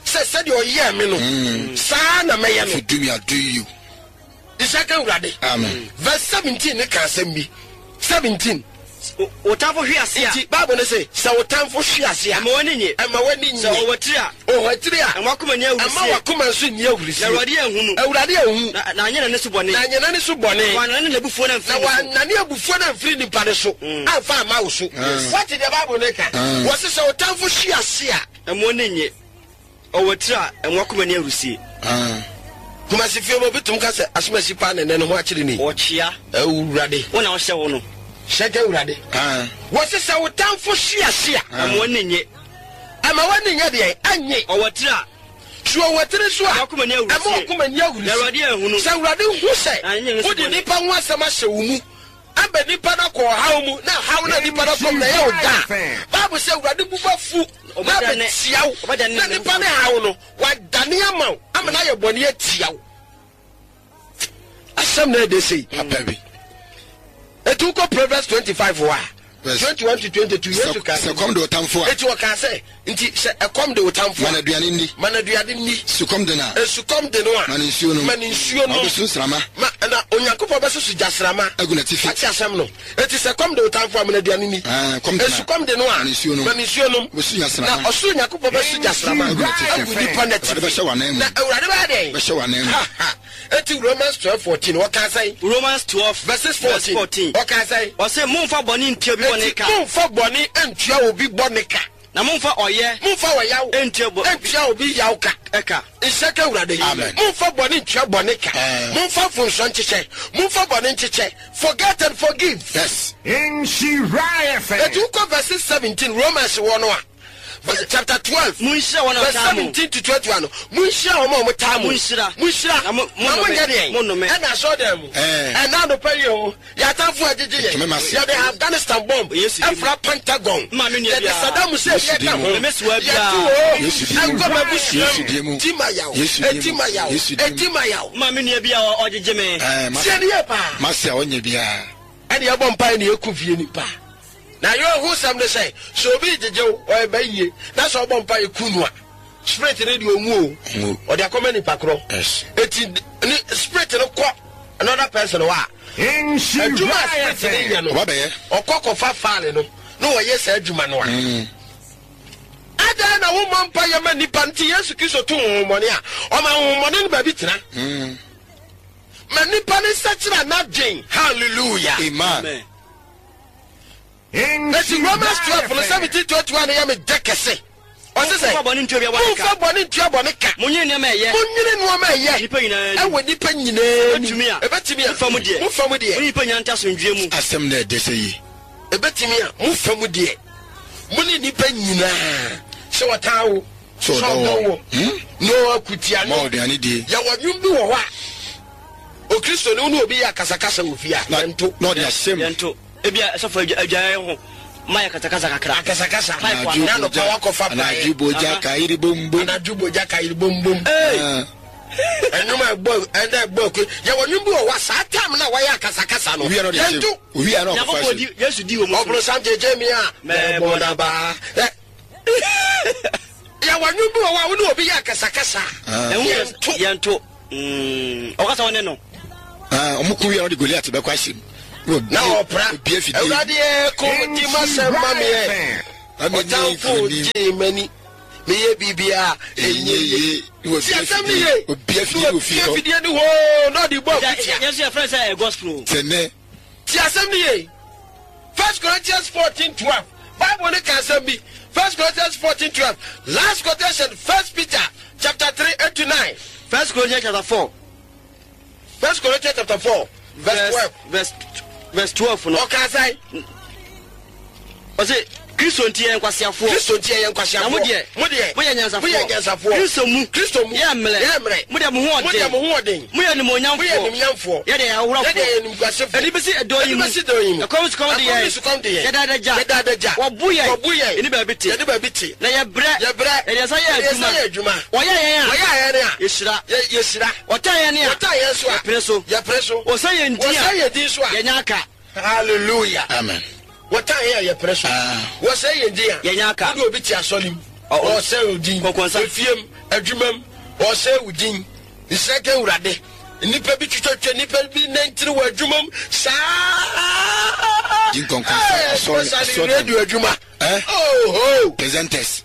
S1: sɛ sɛdeɛ ɔyɛɛ me no, saa na mɛyɛ
S2: If
S1: no.
S2: you do me, I do you.
S1: Isaka Awurade.
S2: Amen.
S1: Verse seventeen ne ka asɛm bi. Seventeen.
S3: Wo- wo tamfo hwe ase a,
S1: Nti Bible ne se sɛ wo tamfo hwe ase a,
S3: ɛma w'ani nye.
S1: Ɛma w'ani
S3: Sɛ
S1: nye.
S3: ɔwɔ tiri a,
S1: Ɔwɔ tiri a,
S3: ɛma wakoma nni
S1: ɛma
S3: ahurisie.
S1: wakoma nso nni ahurisie.
S3: Na Awurade anhu no.
S1: Awurade anhu.
S3: Na na anyɛ n'ani so bɔne.
S1: Na anyɛ n'ani so bɔne.
S3: Wanane n'abufuo no
S1: Na
S3: amfiri ne so.
S1: wanane abufuo no amfiri nipa ne so amfa ama wo so. Wate deɛ Bible ne ka? Wɔse sɛ wo tamfo hwe ase a,
S3: ɛma w'ani nye. Ɔwɔ tiri a, ɛma wakoma nni ahurisie.
S2: Ah.
S1: Kumasi fie mu obi tum ka sɛ asomasi paa ne nɛ ne ho akyere ni.
S3: Ɔkyea.
S1: Awurade.
S3: Wo na wohyɛ wo no.
S1: Hyɛ ka Awurade.
S2: Ah.
S1: Wɔse sɛ wo tamfo hwe ase a,
S3: Ɛma w'ani nye.
S1: Ɛma w'ani nyɛ deɛ ɛnye.
S3: Ɔwɔ tiri a,
S1: so ɔwɔ tiri so a,
S3: ɛma wakoma nni
S1: ɛma
S3: ahurisie.
S1: wakoma nni
S3: Na
S1: ahurisie.
S3: Awurade anhu no.
S1: Sɛ Awurade hu sɛ
S3: Na anyɛ ne so
S1: wode
S3: bɔne.
S1: nipa ho asɛm ahyɛ wo mu aba nipa no akɔ ɔhaw mu, na haw no a nipa no akɔ mu na ɛyɛ wo da a, Bible sɛ Awurade bu bɛfu na
S3: Ɔbɛdane-
S1: abɛtia wo
S3: ɔbɛdane
S1: na
S3: ne
S1: nipa no haw no wadane ama wo ama no ayɛ bɔne atia wo. Asɛm na ɛde sei.
S2: Papa bi.
S1: Ɛti wokɔ Proverbs twenty-five hɔ a,
S2: Verse-
S1: twenty-one to twenty-two, Yesu
S2: Sɛ
S1: ka
S2: sɛ kɔm de wo tamfo a,
S1: eti wɔka sɛ nti sɛ ɛkɔm de wo tamfo
S2: ma no
S1: a,
S2: aduane nni.
S1: Ma no aduane nni.
S2: Sukɔm de no a,
S1: Esukɔm de no a,
S2: ma no nsuo nom.
S1: Ma no nsuo
S2: Na
S1: nom.
S2: ɔbɛsu nsrama
S1: ma na Onyankopɔn bɛsoso gyasrama
S2: agu n'atifi.
S1: Wate asɛm no? Eti sɛ kɔm de wo tamfo a, ma no aduane ni.
S2: Ah, kɔm de no a,
S1: Esukɔm de no a,
S2: ma no nsuo nom.
S1: Ma no nsuo nom.
S2: Ɔbɛsu gyasrama.
S1: Na ɔsoro Nyankopɔn bɛso gyasrama
S2: agu n'atifi.
S1: Agu nipa n'atifi.
S2: Awurade bɛhyɛ w'anan mu.
S1: Na Awurade bɛyɛ dɛn?
S2: Bɛhyɛ w'anan mu.
S1: Ha, ha. Eti Romans twelve fourteen wɔka sɛn?
S3: Romans twelve
S1: verses
S3: verse
S1: fourteen.
S3: fourteen.
S1: Wɔka sɛn?
S3: Ɔsɛ momfa bɔne ntua bi bɔne
S1: Eti
S3: ka.
S1: momfa bɔne ntua obi bɔne ka.
S3: Na momfa ɔyɛ
S1: momfa wɔyaw
S3: ntua bɔ
S1: ntua obi yaw ka.
S3: Ɛka.
S1: Nhyɛ ka Awurade.
S2: Amen.
S1: Momfa bɔne ntua bɔne ka.
S2: Eh.
S1: Momfa mfomsoɔ nkyekyɛ, momfa bɔne nkyekyɛ. Forget and forgive.
S2: Yes.
S4: Nhyira F M.
S1: Eti wokɔ verses seventeen Romans wɔ no a, verse- chapter twelve
S3: Monhyira wɔn a
S1: verse
S3: wɔtaa mo.
S1: seventeen to twenty-one no, monhyira wɔn a wɔtaa mo.
S3: Monhyira.
S1: Monhyira.
S3: Na mo-
S1: na
S3: monnome.
S1: monyɛ deɛn?
S3: Monnome.
S1: Ɛna asɔɔdan mu
S2: Eh.
S1: ɛna anɔpa yi o, yɛatamfo agyegye
S2: Ntome
S1: yɛn.
S2: ma se.
S1: Yɛde Afghanistan bomb
S3: Yesu din mu.
S1: ɛfra Pentagon.
S3: Ma me nua
S1: Yɛde
S3: biara.
S1: Saddam Hussein
S2: Yesu
S1: yɛka
S2: din mu.
S1: ho.
S3: Me mesoa biara.
S1: Yɛtu o
S2: Yesu din mu.
S1: ɛnkɔ m'abusua
S2: Yesu din mu.
S1: mu. Ti ma yaw.
S2: Yesu din mu.
S1: Eti ma yaw.
S2: Yesu din mu.
S1: Eti ma yaw.
S3: Ma me nua bi a ɔgyegye me.
S2: Eh, ma-
S1: Sie ne yɛ paa.
S2: Mase a ɔnyɛ biara.
S1: Ɛne yɛbɔ mpae ne yɛku fie nipa na yɛ ɔho sɛm ne sɛ sɛ obi gyegye wo ɔyɛ bɛyie na sɛ ɔbɔ mpae ku no a, spirit ne deɛ ɔnwu o.
S2: Ɔnwu.
S1: Ɔde akɔma nipa korɔ.
S2: Yes.
S1: Eti ne spirit no kɔ another person hɔ a, adwuma a
S4: Nhyira
S1: spirit ne yɛ
S4: F M.
S1: no,
S2: Ɔba bɛyɛ.
S1: ɔkɔ kɔfa faale no na wɔyɛ saa adwuma no a, adan na womɔ mpa yɛ ma nipa. Nti Yesu Kristo to honhommɔne a, ɔma honhommɔne no baabi tena ma nipa ne nsakyerɛ n'adwen. Hallelujah.
S2: Amen.
S3: Amen.
S1: Eti Romans twelve no seventeen twenty one yɛ me dɛ kɛse. Ɔse sɛ
S3: momfa bɔne ntua obi bɔne ka.
S1: Momfa bɔne ntua bɔne ka.
S3: Monyɛ nneɛma a ɛyɛ
S1: monyene nneɛma a ɛyɛ
S3: nnipa nyinaa anim.
S1: Ɛwɔ nipa nyinaa anim.
S3: Ɛbɛtumi a,
S1: ɛbɛtumi a,
S3: mofa mu deɛ,
S1: mofa mu deɛ,
S3: mo ne nnipa nyinaa nte asomdwoeɛ mu.
S2: Asɛm na ɛdɛ sɛ yi.
S1: Ɛbɛtumi a, mofa mu deɛ, mo ne nipa nyinaa, sɛ wɔtaa wo,
S2: sɛ ɔdɔ
S1: sɛ ɔdɔ
S2: wɔ.
S1: wo
S2: Hmm?
S1: na ɔakutia
S2: ma
S1: no
S2: ɔduane die.
S1: Yɛwɔ nnwom bi wɔ hɔ a, Okristoni wo ne obi yɛ akasakasa wɔ fie a,
S2: na
S1: yɛnto.
S2: Na ɔde ahyɛm.
S3: Yɛnto ebi a ɛsɔfo adwa adwaeɛ ho. Ma yɛ kasakasa kakra.
S1: Akasakasa.
S3: Pipe.
S1: Na anɔpa wakɔfa praeɛ.
S2: Anadwo bogya kayiri bombom.
S1: Anadwo bogya kayiri bombom.
S2: Ah.
S1: Ɛnwom a ɛbɔ ɛnna ɛbɔ aku, yɛwɔ nwom bi wɔ hɔ a, saa time na wɔyɛ akasakasa no,
S2: Owia no de
S1: yɛnto.
S2: ahyɛ owia no ɔkɔfa
S3: Nyankopɔn
S2: ahyɛ.
S3: di Yesu di wɔ mu so.
S1: Ɔbonsam gyegye mi a, mɛbɔ naba. Ɛ, yɛwɔ nwom bi wɔ hɔ a, wo ne obi yɛ akasakasa a,
S3: Ɛho yɛ
S1: yɛnto.
S3: Yɛnto. Mm, ɔkasa wo ne no.
S2: Ah, ɔmo ko wia no de Goliat bɛkɔ ahyɛ mu.
S1: Na ɔpra
S2: Obie fidie.
S1: Awurade yɛ ko di ma sɛm ma meɛ. Ɔtamfo gyee m'ani, meyɛ biribia ɛnyɛ ye. Ti asɛm ne ye.
S2: Obie fidie wɔ fie hɔ.
S1: Fidie ne hoo na ɔde bɔ akutia.
S3: Yɛn nso yɛfrɛ sɛ ɛyɛ gospel o.
S2: Sɛ nnɛ
S1: Ti asɛm ne ye. First Corinthians fourteen twelve, Bible ne ka asɛm bi. First Corinthians fourteen twelve. Last quotation, First Peter chapter three eight to nine.
S3: First Corinthians chapter four.
S1: First Corinthians chapter four verse twelve.
S3: Verse verse twelve no.
S1: Ɔka sɛn?
S3: Ɔsɛ Kristo nti yɛ nkwasiafoɔ.
S1: Kristo nti yɛ nkwasiafoɔ.
S3: Na mo deɛ,
S1: mo deɛ,
S3: moyɛ nyansafoɔ.
S1: Moyɛ nyansafoɔ.
S3: Kristo mu.
S1: Kristo mu.
S3: Yɛ mmerɛ.
S1: Yɛ mmerɛ.
S3: Mo deɛ, mo ho
S1: Mo deɛ,
S3: ɔden.
S1: mo ho ɔden.
S3: Moyɛ nimonyamfoɔ.
S1: Moyɛ nimonyamfoɔ.
S3: Yɛ deɛ yɛ ahohorɔfoɔ.
S1: Yɛ deɛ yɛ nimguasefoɔ.
S3: Ɛde bɛsi ɛdɔn yi mu.
S1: Ɛde bɛsi dɔn yi mu.
S3: Ɛkɔm sukɔm de
S1: Ɛkɔm
S3: yɛn.
S1: ne sukɔm de yɛn.
S3: Yɛda adagya.
S1: Yɛda adagya.
S3: Wɔbu yɛn.
S1: Wɔbu yɛn.
S3: Yɛne baabi te.
S1: Yɛne baabi te.
S3: Na yɛbrɛ.
S1: Yɛbrɛ.
S3: Yɛde yɛn nsa yɛ
S1: Yɛde yɛn nsa
S3: adwuma.
S1: yɛ adwuma.
S3: Wɔyɛ yɛn a,
S1: Wɔyɛ yɛn a,
S3: yɛhyira.
S1: Yɛ yɛhyira.
S3: Wɔtan yɛn a,
S1: Wɔtan yɛn so a,
S3: yɛpere so.
S1: Yɛpere so.
S3: Wɔsɛ yɛn din a,
S1: Wɔsɛ yɛn din so a,
S3: yɛnya aka.
S1: Hallelujah.
S2: Amen.
S1: Wɔtan yɛn a, yɛpere so.
S2: Ah.
S1: Wɔsɛ yɛn din a,
S3: yɛnya aka.
S1: Wode obi te asɔre mu,
S3: Ɔ- ɔ-
S1: ɔsɛ wo din.
S3: Kɔkɔnsa.
S1: Efiem, adwuma mu, ɔsɛ wo din. Nsɛ ka Awurade nnipa bi twitwatwa nnipa bi nantiri wɔ adwuma mu saa.
S2: Di nkɔnkɔnsa,
S1: Hey,
S2: asɔre-
S1: especially
S2: asɔre.
S1: radio adwuma.
S2: Eh?
S1: Oh,
S2: Presenters.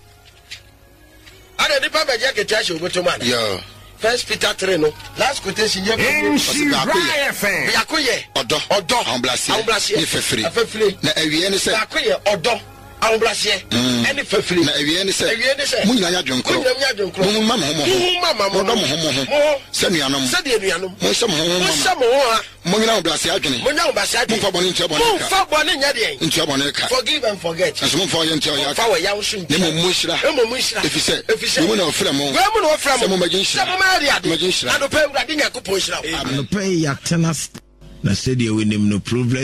S1: Ada nipa bɛgye akatua hyɛ obotom ana?
S2: Yo.
S1: First Peter three no, last quotation yɛ.
S4: Nhyira F M.
S1: Biako yɛ
S2: ɔdɔ,
S1: ɔdɔ,
S2: ahobrɛaseɛ,
S1: ahobrɛaseɛ
S2: ne fafiri.
S1: Afafiri.
S2: Na awie ne sɛ,
S1: Baako yɛ ɔdɔ, ahobrɛaseɛ ɛne fafiri.
S2: Na awie ne sɛ,
S1: Awie ne sɛ,
S2: mo nyinaa nyɛ adwenkorɔ.
S1: Mo nyinaa nyɛ adwenkorɔ.
S2: Mo ma mo ho mo ho.
S1: Mo ho ma ma mo ho.
S2: Modɔ mo ho mo ho.
S1: Mo ho.
S2: Sɛ nuanom.
S1: Sɛdeɛ nuanom.
S2: Monhyɛ mo ho ho ma
S1: Monhyɛ mo ho ha.
S2: Monyina ahobrɛaseɛ adwene.
S1: Monya ahobrɛaseɛ adwene.
S2: Momfa bɔne ntua bɔne ka.
S1: Momfa bɔne nyɛ deɛn?
S2: Ntua bɔne ka.
S1: Forgive and forget.
S2: Nanso momfa ɔyɛ ntua ɔyɛ
S1: Momfa
S2: aka.
S1: wɔ yaw so
S2: Na mmom monhyira.
S1: Mmom monhyira.
S2: Ɛfiri sɛ,
S1: Ɛfiri sɛ,
S2: wei mu na wɔfrɛ mo.
S1: Wei mu na wɔfrɛ mo.
S2: Sɛ mommɛgye nhyira.
S1: Sɛ mommɛyɛ de ade.
S2: Mommɛgye nhyira.
S1: Anɔpa, Awurade Nyankopɔn nhyira wo.
S5: Anɔpa yi yɛatena ase na sɛdeɛ wonim no, Proverbs